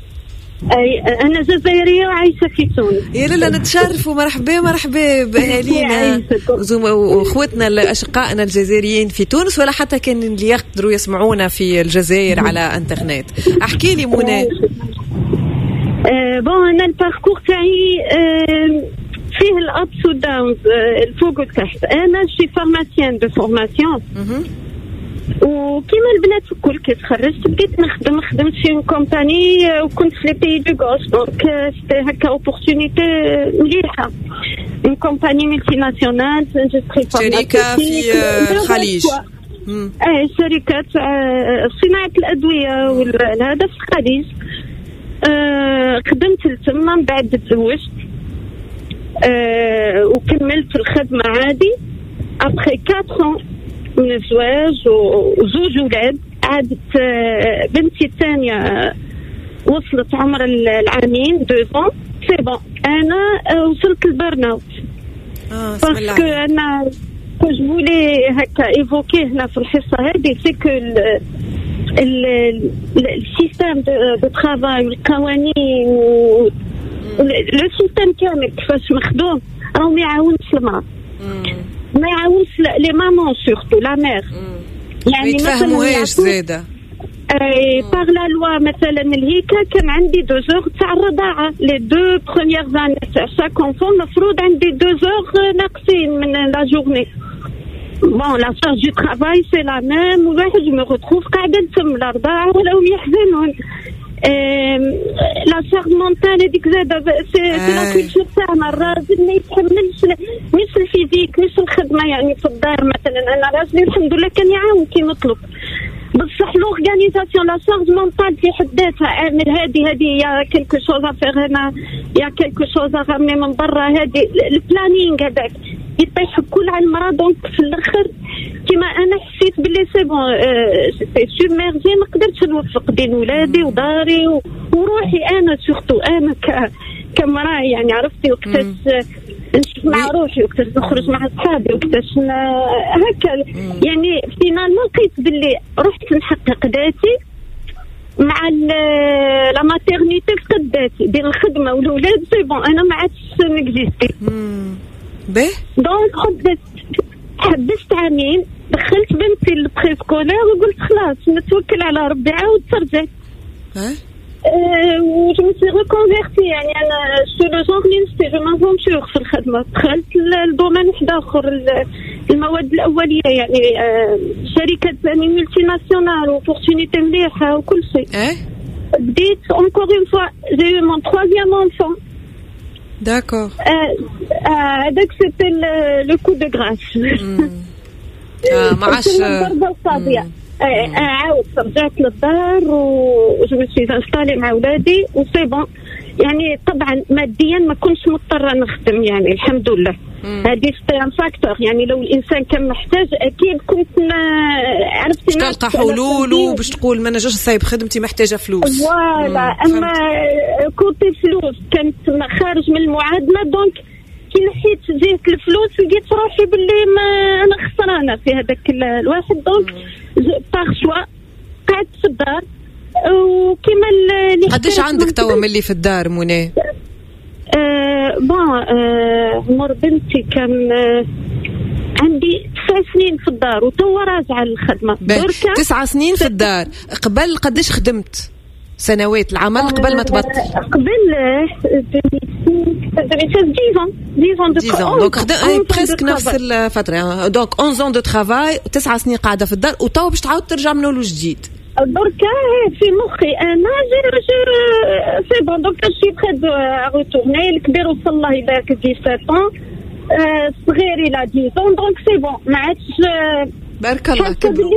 Speaker 12: اي انا جزائرية وعايشة في تونس.
Speaker 1: يا لالا نتشرفوا، مرحبا مرحبا باهالينا واخوتنا اشقائنا الجزائريين في تونس، ولا حتى كان اللي يقدروا يسمعونا في الجزائر على انترنت. احكي لي منى.
Speaker 12: bon انا ال parcours تاعي فيه ال ups و downs، الفوق والتحت. انا je suis pharmacienne de formation، وكيما البنات الكل كي تخرجت بديت نخدم، خدمت في compagnie وكنت في les pays du Golfe، donc c'était هكا opportunité مليحة، une compagnie multinationale industrie.
Speaker 1: شركة في الخليج.
Speaker 12: ايه شركة صناعة الادوية وهذا في الخليج. خدمت لتما، من بعد تزوجت وكملت الخدمة عادي. après 4 من الزواج وزوج ولاد، عادت بنتي الثانية وصلت عمر العامين 2 ans، c'est bon انا وصلت لل burn-out. parce que انا je voulais هكا évoquer هنا في الحصة هذه، c'est que ال système de travail والقوانين، le système كامل كيفاش مخدوم، راهو ما يعاونش المراة، ما يعاونش les mamans، surtout la mère.
Speaker 1: يعني ما يتفهموهاش زاده.
Speaker 12: اي par la loi مثلا الهيكا كان عندي 2 heures تاع الرضاعه، les deux premières années تاع chaque enfant المفروض عندي 2 heures ناقصين من la journée. bon la charge de travail c'est la même، والواحد me retrouve قاعدة نتم لا رضاعه ولا هم يحزنون. la charge mentale هذيك زاده، c'est la culture تاعنا، الراجل ما يتحملش مش ال physique مش الخدمة يعني في الدار. مثلا انا راجلي الحمد لله كان يعاون كي نطلب، بصح l'organisation، la charge mentale في حد ذاتها، اعمل هذه هذه، y a quelque chose à faire هنا، y a quelque chose à ramener من برا، هذه ال planning هذاك يطيح كل على المراة. donc في الاخر كيما انا حسيت باللي c'est bon، submergée، ما قدرتش نوفق بين ولادي وداري وروحي انا، surtout انا كمراه، يعني عرفتي وقتاش نشوف مع روحي، وقتاش نخرج مع اصحابي، وقتاش هكا. يعني finalement لقيت باللي رحت نحقق ذاتي مع la maternité، فقد ذاتي بين الخدمة والاولاد، c'est bon انا ما عادش ن exister.
Speaker 1: به
Speaker 12: donc حبست عامين، دخلت بنتي ال préscolaire وقلت خلاص نتوكل على ربي، عاود ترجعت و je me suis reconvertie. يعني انا suis le genre اللي نستي je m'aventure في الخدمه، دخلت ال domaine واحد اخر، المواد الاوليه، يعني شركة ثاني multinationale، opportunité مليحة وكل شيء. بديت encore une fois، j'ai eu mon troisième enfant. هذاك c'était le coup de grâce.
Speaker 1: ما عادش.
Speaker 12: الضربة القاضيه. عاود رجعت للدار و je me suis installée مع ولادي و c'est bon. يعني طبعا ماديا ما كنتش مضطرة نخدم، يعني الحمد لله هذه c'était un facteur، يعني لو الانسان كان محتاج اكيد كنت عرفتي
Speaker 1: باش تلقى حلول وباش تقول ما نجمش نسيب خدمتي، محتاجه فلوس.
Speaker 12: voilà، اما côté فلوس كانت خارج من المعادله، donc كي نحيت جهة الفلوس لقيت روحي باللي ما انا خسرانة في هذاك الواحد، donc par choix قعدت في الدار وكما
Speaker 1: اللي قداش عندك توا ملي في الدار منى؟
Speaker 12: Bon عمر بنتي كان عندي 9 سنين في الدار، وتوا راجعه للخدمه.
Speaker 1: 9 سنين في الدار، قبل قداش خدمت سنوات العمل قبل ما تبطل؟
Speaker 12: قبل 10 10
Speaker 1: 10 ans، donc presque نفس الفتره، donc 11 ans de travail، 9 سنين قاعدة في الدار، وتوا باش تعاود ترجع من اول وجديد.
Speaker 12: دركا في مخي انا je c'est bon، donc je suis prête à retourner. الكبير وصل الله يبارك 17 الصغير il a 10، donc c'est bon ما عادش.
Speaker 1: بارك الله.
Speaker 12: كبروا،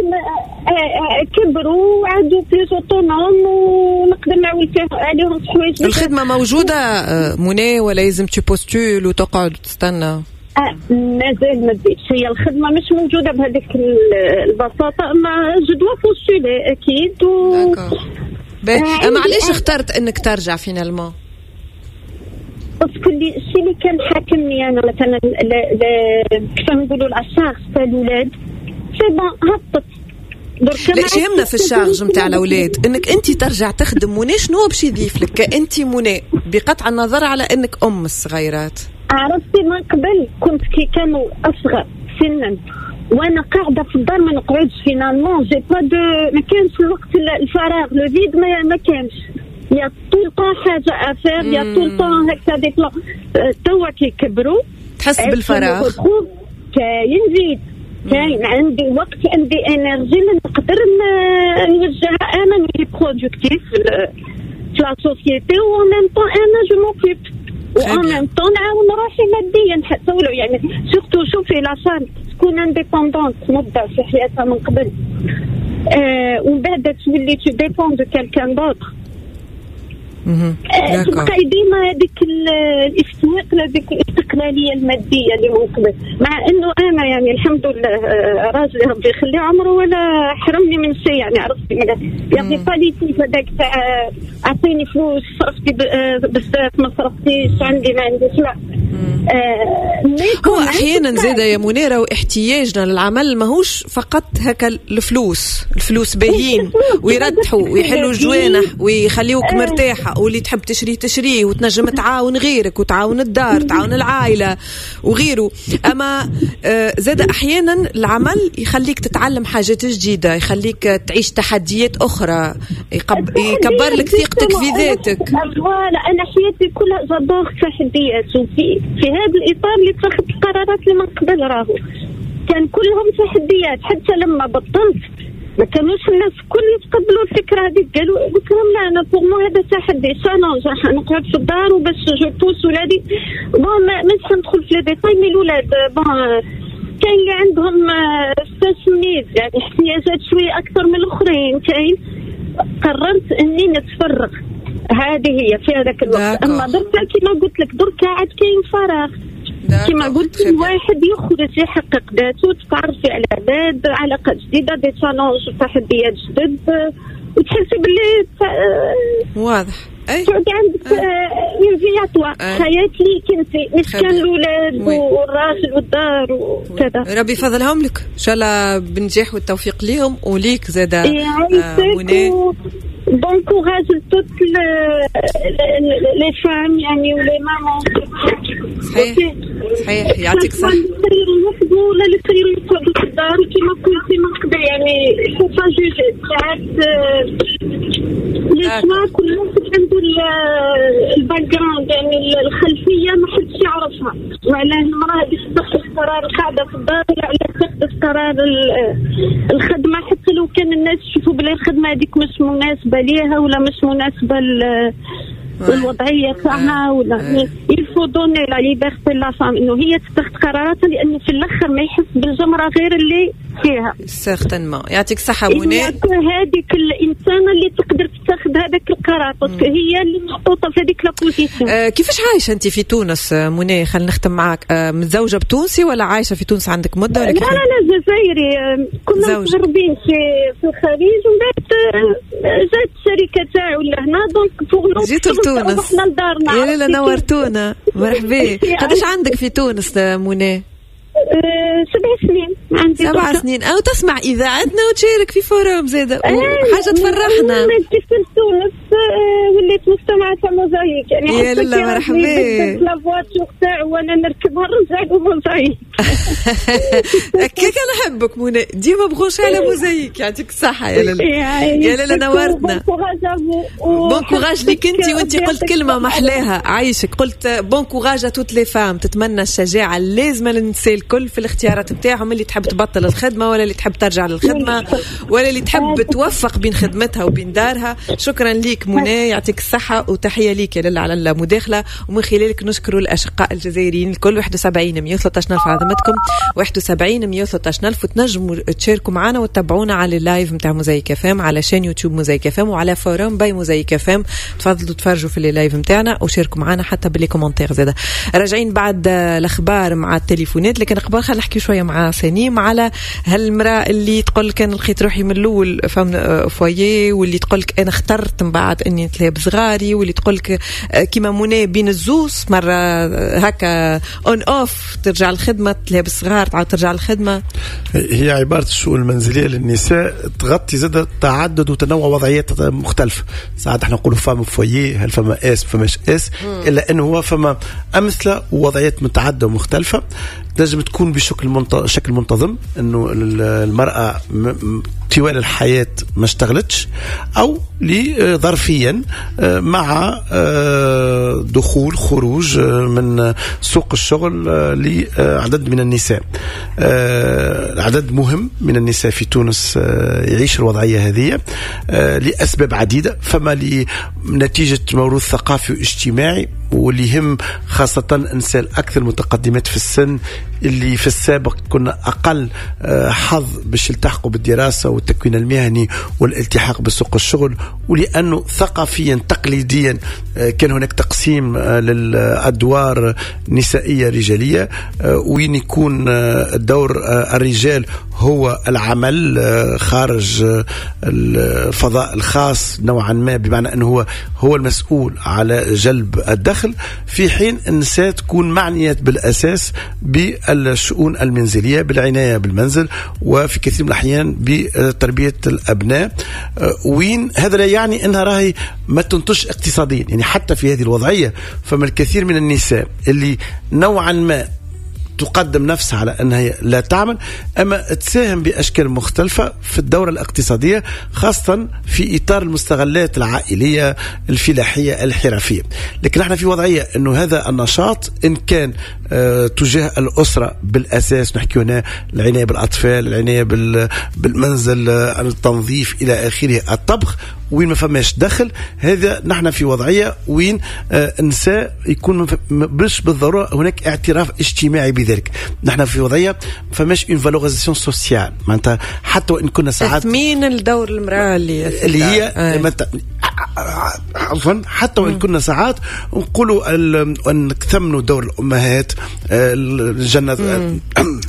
Speaker 12: كبروا وعادوا plus autonomes ونقدر نعول عليهم في حوايج.
Speaker 1: الخدمة موجودة منى ولا لازم tu postules وتقعد وتستنى؟
Speaker 12: مازال ما بديتش، هي الخدمة مش موجودة بهذيك البساطه، اما je dois postuler اكيد.
Speaker 1: و اما علاش اخترت انك ترجع finalement؟
Speaker 12: parce que الشيء اللي كان حاكمني انا مثلا، كيف نقولوا، la charge تاع الاولاد، c'est bon هبطت. درك
Speaker 1: لا يهمنا في ال charge نتاع الاولاد انك انت ترجع تخدم منى، شنو باش يضيف لك كانت منى بقطع النظر على انك ام الصغيرات؟
Speaker 12: عرفتي من قبل كنت كي كانوا اصغر سنا وانا قاعدة في الدار ما نقعدش finalement j'ai pas de ما كانش الوقت الفراغ le vide ما كانش y a tout le temps حاجة à faire y a tout le temps هكا des plans. توا كي كبروا
Speaker 1: تحس بالفراغ،
Speaker 12: كاين vide، كاين عندي وقت، عندي énergie اللي نقدر نوجهها انا نولي productive في la société و en même temps انا je m'occupe و en même temps نعاون روحي ماديا حتى ولو يعني surtout شوفي la femme تكون indépendante مده في حياتها من قبل ومن بعد تولي tu dépends de quelqu'un d'autre. تبقى ديما هذيك الاستحقاق هذيك الاستقلالية المادية اللي من قبل، مع انه انا يعني الحمد لله راجلي ربي يخليه عمره ولا حرمني من شيء يعني عرفتي يعني باليتي هذاك تاع اعطيني فلوس صرفتي بزاف ما صرفتيش عندي ما عنديش لا.
Speaker 1: هو احيانا زاده يا منيرة واحتياجنا للعمل ماهوش فقط هكا الفلوس، الفلوس باهين ويرتحوا ويحلوا الجوانح ويخليوك مرتاحة واللي تحب تشريه تشريه وتنجم تعاون غيرك وتعاون الدار تعاون العائلة وغيره، اما زاده احيانا العمل يخليك تتعلم حاجات جديدة، يخليك تعيش تحديات اخرى، يكبر لك ثقتك في ذاتك.
Speaker 12: voilà انا حياتي كلها j'adore تحديات، وفي في هذا الاطار اللي اتخذت القرارات اللي من قبل راهو كان كلهم تحديات. حتى لما بطلت ما كانوش الناس الكل يتقبلوا الفكرة هذيك، قالوا قلت لهم لا انا pour moi هذا تحدي challenge، راح نقعد في الدار وباش je pousse ولادي. bon مش ندخل في les détails mais الاولاد bon كاين اللي عندهم special needs يعني احتياجات شوية اكثر من الاخرين. كاين قررت اني نتفرغ، هذه هي في هذاك الوقت. اما دركا كما قلت لك دركا عاد كاين فراغ كما قلت الواحد يخرج يحقق ذاته، تتعرفي على عباد، علاقات جديدة، des challenges وتحديات جدد، وتحسي باللي
Speaker 1: واضح اي
Speaker 12: تعود عندك une vie à toi، حياة ليك انت مش كان الاولاد والراجل والدار وكذا.
Speaker 1: ربي يفضلهم لك ان شاء الله بالنجاح والتوفيق ليهم وليك زاده منى.
Speaker 12: Bon courage à toutes les femmes يعني و les mamans.
Speaker 1: صحيح صحيح يعطيك الصحة.
Speaker 12: ولا اللي خيروا يقعدوا في الدار كيما قلتي من قبل يعني faut pas juger ساعات les choix كل واحد عنده ال background يعني الخلفية ما حدش يعرفها، وعلاه المرأة هذه تاخذ قرار القعدة في الدار ولا علاه تاخذ قرار الخدمة، حتى لو كان الناس يشوفوا بلي الخدمة هذيك مش مناسبة ليها ولا مش مناسبة الوضعية تاعها ولا il faut donner la liberté la femme انه هي تتخذ قراراتها، لانه في الاخر ما يحس بالجمره غير اللي فيها.
Speaker 1: certainement يعطيك الصحة منى.
Speaker 12: هذيك الانسانة اللي تقدر تتخذ هذاك القرار parce que هي اللي محطوطة في هذيك la position.
Speaker 1: كيفاش عايشه انت في تونس منى؟ خلينا نختم معاك. متزوجة بتونسي ولا عايشه في تونس عندك مده ولا؟
Speaker 12: لا لا لا جزائري، كنا متغربين في الخليج ومن بعد جات الشركة تاعو لهنا donc pour
Speaker 1: جيتوا لتونس
Speaker 12: رحنا لدارنا.
Speaker 1: يا لاله نورتونا، مرحبا. قداش عندك في تونس منى؟
Speaker 12: 7 سنين عندي.
Speaker 1: 7 سنين. أو تسمع إذاعتنا وتشارك في forum زادة حاجة تفرحنا.
Speaker 12: جيت لتونس وليت مستمعة تاع موزايك يعني.
Speaker 1: يا لاله مرحبا.
Speaker 12: la voiture تاعو وانا نركبها نرجع لموزايك.
Speaker 1: هكاك نحبك منى، ديما branchée على موزايك. يعطيك الصحة يا لاله. يا لاله نورتنا. bon courage ليك انت، وانت قلت كلمة محلاها عايشك، قلت bon courage à toutes les femmes. تتمنى الشجاعة اللازمة للنساء الكل في الاختيارات بتاعهم، اللي تحب تبطل الخدمة ولا اللي تحب ترجع للخدمة ولا اللي تحب توفق بين خدمتها وبين دارها. شكرا ليك منى، يعطيك الصحة وتحية ليك يا لاله على المداخلة، ومن خلالك نشكر الأشقاء الجزائريين الكل. 71 113 ألف عظمتكم، 71 113 ألف، وتنجموا تشاركوا معنا وتتابعونا على ال live نتاع موزايك اف ام على chaîne يوتيوب موزايك اف ام وعلى forum by موزايك اف ام. تفضلوا تفرجوا في ال live نتاعنا وشاركوا معنا حتى ب les commentaires زاده. راجعين بعد الأخبار مع التليفونات، لكن قبل خلينا نحكي شوية مع سنيم على هالمرأة اللي تقول لك انا لقيت روحي من الاول femme foyer، واللي تقول لك انا اخترت من بعد اني نتلهى بصغاري، واللي تقول لك كيما منى بين الزوز مرة هكا on off ترجع الخدمة تلهي بالصغار، تعاود ترجع للخدمة.
Speaker 13: هي عبارة الشؤون المنزلية للنساء تغطي زاد تعدد وتنوع وضعيات مختلفة. ساعات احنا نقولوا femme au foyer، هل فما s فماش s، الا انه هو فما امثلة ووضعيات متعددة ومختلفة. تنجم تكون بشكل شكل منتظم، انه المراة طوال الحياة ما اشتغلتش، او ظرفيا مع دخول خروج من سوق الشغل لعدد من النساء. عدد مهم من النساء في تونس يعيش الوضعية هذه لأسباب عديدة. فما لنتيجة موروث ثقافي واجتماعي، واللي يهم خاصة النساء الأكثر متقدمات في السن، اللي في السابق كنا أقل حظ باش يلتحقوا بالدراسة والتكوين المهني والالتحاق بسوق الشغل، ولأنه ثقافيا تقليديا كان هناك تقسيم للأدوار نسائية رجالية، وين يكون الدور الرجال هو العمل خارج الفضاء الخاص نوعا ما، بمعنى أنه هو المسؤول على جلب الدخل، في حين النساء تكون معنيات بالأساس بالشؤون المنزلية، بالعناية بالمنزل، وفي كثير من الأحيان بتربية الأبناء. وين هذا لا يعني أنها راهي ما تنتج اقتصاديا، يعني حتى في هذه الوضعية فما الكثير من النساء اللي نوعا ما تقدم نفسها على أنها لا تعمل، أما تساهم بأشكال مختلفة في الدورة الاقتصادية، خاصة في إطار المستغلات العائلية الفلاحية الحرفية. لكن احنا في وضعية أنه هذا النشاط إن كان تجاه الأسرة بالأساس، نحكي هنا العناية بالأطفال، العناية بالمنزل، التنظيف إلى آخره، الطبخ، وين ما فماش دخل، هذا نحن في وضعية وين النساء يكون مش بالضرورة هناك اعتراف اجتماعي بذلك. نحن في وضعية فماش une valorisation sociale، معناتها حتى وان كنا ساعات
Speaker 1: تثمين الدور المرأة
Speaker 13: اللي هي عفوا، حتى وان كنا ساعات نقولوا ان نثمنوا دور الامهات، الجنة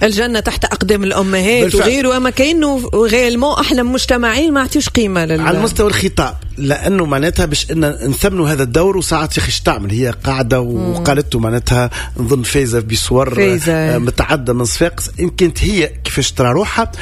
Speaker 1: الجنة تحت اقدام الامهات وغيره، اما كانه réellement احنا مجتمعين ما عطيوش قيمة
Speaker 13: على المستوى الخطاب، لانه معناتها باش ان نثمنوا هذا الدور. وساعات يا اخي تعمل هي قاعدة وقالته معناتها نظن فايزه بصور متعددة من صفاقس، ان كانت هي كيفاش ترى روحها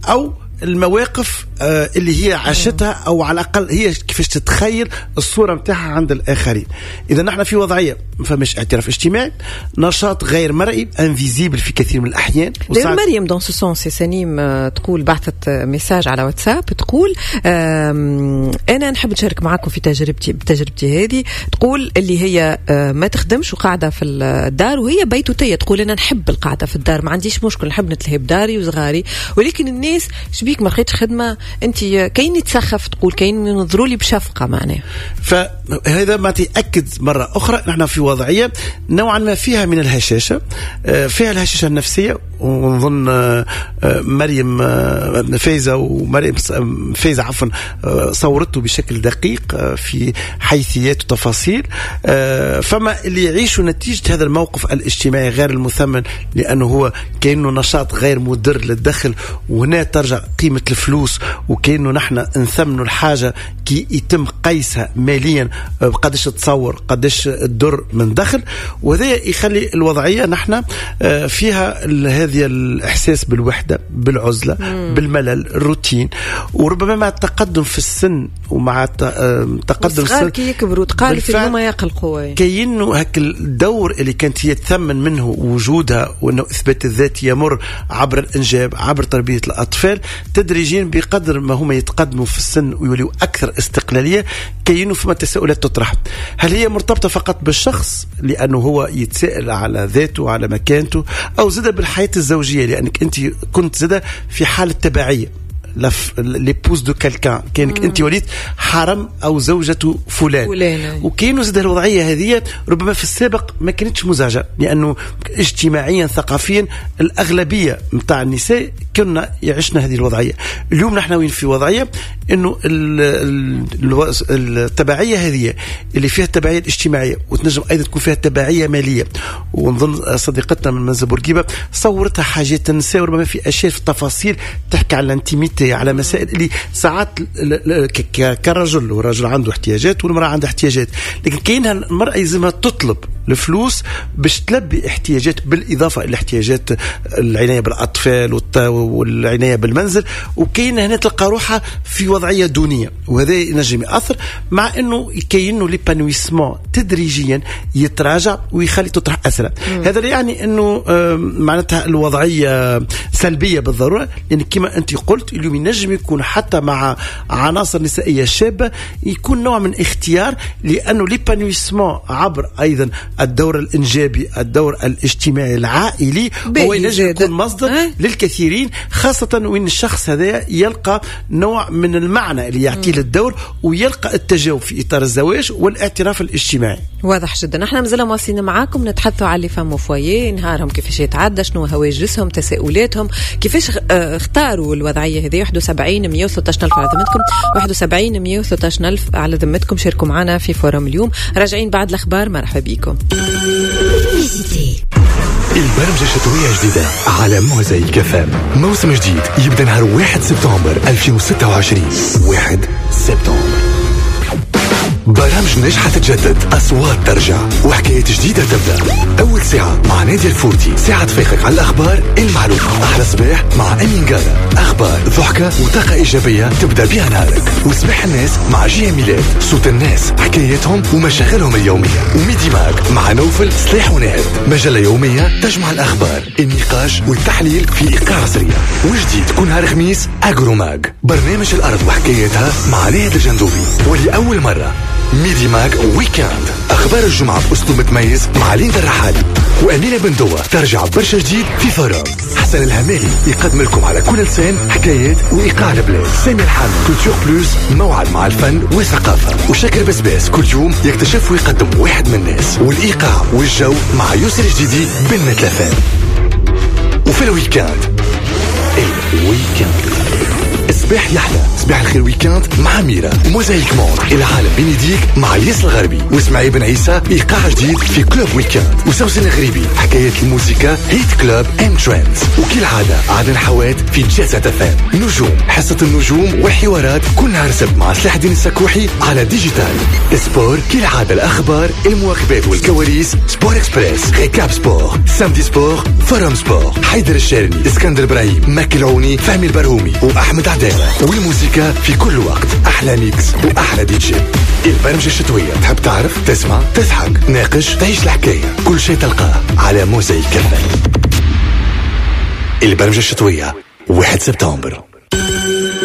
Speaker 13: او المواقف اللي هي عاشتها، او على الاقل هي كيفاش تتخيل الصورة متاعها عند الاخرين. اذا نحن في وضعية ما فماش اعتراف اجتماعي، نشاط غير مرئي invisible في كثير من الاحيان.
Speaker 1: مريم dans ce sens سنيم تقول، بعثت message على واتساب تقول انا نحب نشارك معاكم في تجربتي هذه. تقول اللي هي ما تخدمش وقاعدة في الدار وهي بيتوتيه، تقول انا نحب القعدة في الدار، ما عنديش مشكل، نحب نتلهي بداري وصغاري، ولكن الناس شبيك ما لقيتش خدمة، انت كاين تسخف، تقول كاين ينظروا لي بشفقه معناها.
Speaker 13: فهذا ما تاكد مرة اخرى نحن في وضعية نوعا ما فيها من الهشاشه، فيها الهشاشه النفسية، ونظن مريم فايزه ومريم فايزه عفوا صورته بشكل دقيق في حيثيات وتفاصيل. فما اللي يعيشوا نتيجة هذا الموقف الاجتماعي غير المثمن، لانه هو كانه نشاط غير مدر للدخل، وهنا ترجع قيمة الفلوس، وكأنه نحن نثمنوا الحاجة كي يتم قيسها ماليا، قداش تصور قداش تدر من دخل، وهذا يخلي الوضعية نحن فيها هذا الإحساس بالوحدة، بالعزلة، بالملل، الروتين، وربما مع التقدم في السن ومع تقدم السن
Speaker 1: كي يكبروا تقالت هما يقلقوا،
Speaker 13: كأنه هك الدور اللي كانت هي تثمن منه وجودها، وأنه إثبات الذات يمر عبر الإنجاب، عبر تربية الأطفال، تدريجيا بقدر ما هما يتقدموا في السن ويوليوا أكثر استقلالية، كأنه فما تساؤلات تطرح. هل هي مرتبطة فقط بالشخص لأنه هو يتساءل على ذاته على مكانته، أو زاد بالحياة الزوجية لأنك أنت كنت زاد في حالة تبعية، l'épouse de quelqu'un، كانك انت وليت حرم او زوجة فلان. وكاين زاد الوضعية هذه ربما في السابق ما كانتش مزعجة، لانه اجتماعيا ثقافيا الاغلبية نتاع النساء كنا يعيشنا هذه الوضعية. اليوم نحن وين في وضعية انه التبعية هذه اللي فيها التبعية الاجتماعية، وتنجم ايضا تكون فيها تبعية ماليه، ونظن صديقتنا من منزل بورقيبة صورتها حاجات النساء، وربما في اشياء في التفاصيل تحكي على ال intimité، الجنسية، على مسائل اللي ساعات كرجل، والرجل عنده احتياجات والمراة عندها احتياجات، لكن كاينها المراة يلزمها تطلب الفلوس باش تلبي احتياجات، بالاضافة الى احتياجات العناية بالاطفال والعناية بالمنزل، وكاين هنا تلقى روحها في وضعية دونية، وهذا ينجم ياثر، مع انه كاينه l'épanouissement تدريجيا يتراجع ويخلي تطرح اسئلة. هذا لا يعني انه معناتها الوضعية سلبية بالضرورة، لان كما انت قلت اليوم ينجم يكون حتى مع عناصر نسائية شابه يكون نوع من اختيار، لانه l'épanouissement عبر ايضا الدور الانجابي، الدور الاجتماعي العائلي، هو ينجم يكون مصدر للكثيرين، خاصة وين الشخص هذا يلقى نوع من المعنى اللي يعطيه للدور، ويلقى التجاوب في اطار الزواج والاعتراف الاجتماعي.
Speaker 1: واضح جدا. احنا مازلنا مواصلين معاكم نتحدثوا على les femmes au foyer، نهارهم كيفاش يتعدى، شنو هواجسهم، تساؤلاتهم، كيفاش اختاروا الوضعية هذه. 71 113 ألف على ذمتكم، 71 113 ألف على ذمتكم. شاركوا معنا في forum اليوم. راجعين بعد الأخبار، مرحبا بكم.
Speaker 2: البرمجة الشتوية جديدة على موزايك FM، موسم جديد يبدأ نهار 1 سبتمبر 2026. 1 سبتمبر برامج ناجحة تتجدد، أصوات ترجع، وحكايات جديدة تبدأ. أول ساعة مع نادية الفورتي، ساعة تفيقك على الأخبار المعلومة. أحلى صباح مع أمين قارة، أخبار، ضحكة وطاقة إيجابية تبدأ بها نهارك. وصباح الناس مع جي ميلاد، صوت الناس، حكاياتهم ومشاغلهم اليومية. و Midi Mag مع نوفل سلاح ونهاد، مجلة يومية تجمع الأخبار، النقاش والتحليل في إيقاع سريع. وجديد كل نهار خميس Agro Mag، برنامج الأرض وحكايتها مع ناهد الجندوبي. ولأول مرة Midi Mag Weekend، أخبار الجمعة بأسلوب متميز مع ليندا الرحالي وأمينة بندوة. ترجع برشا جديد في forum. حسن الهمالي يقدم لكم على كل لسان حكايات وإيقاع البلاد. سامي الحامد Culture Plus، موعد مع الفن والثقافة. وشاكر بسباس كل يوم يكتشف ويقدم واحد من الناس، والإيقاع والجو مع يسر جديدي بنة لفان. وفي ال week-end، ال week-end صباح يحلى، صباح الخير week-end مع ميرا. Mosaïque Monde، العالم بين يديك مع ياس الغربي واسماعيل بن عيسى، ايقاع جديد في Club Weekend. وسوسن الغريبي حكاية الموسيقى Hit Club and Trends. وكالعادة عدن حوات في Jet Set FM. نجوم، حصة النجوم والحوارات كل نهار سبت مع سلاح الدين السكوحي على Digital Sport. كالعادة الاخبار، المواكبات والكواليس، Sport Express، Récap Sport، Samedi Sport، Forum Sport، حيدر الشارني، اسكندر ابراهيم، مكي العوني، فهمي البرهومي، واحمد عدالة. والموسيقى في كل وقت، أحلى mix وأحلى دي جي. البرمجة الشتوية، تحب تعرف، تسمع، تضحك، ناقش، تعيش الحكاية، كل شيء تلقاه على موزايك FM. البرمجة الشتوية 1 سبتمبر.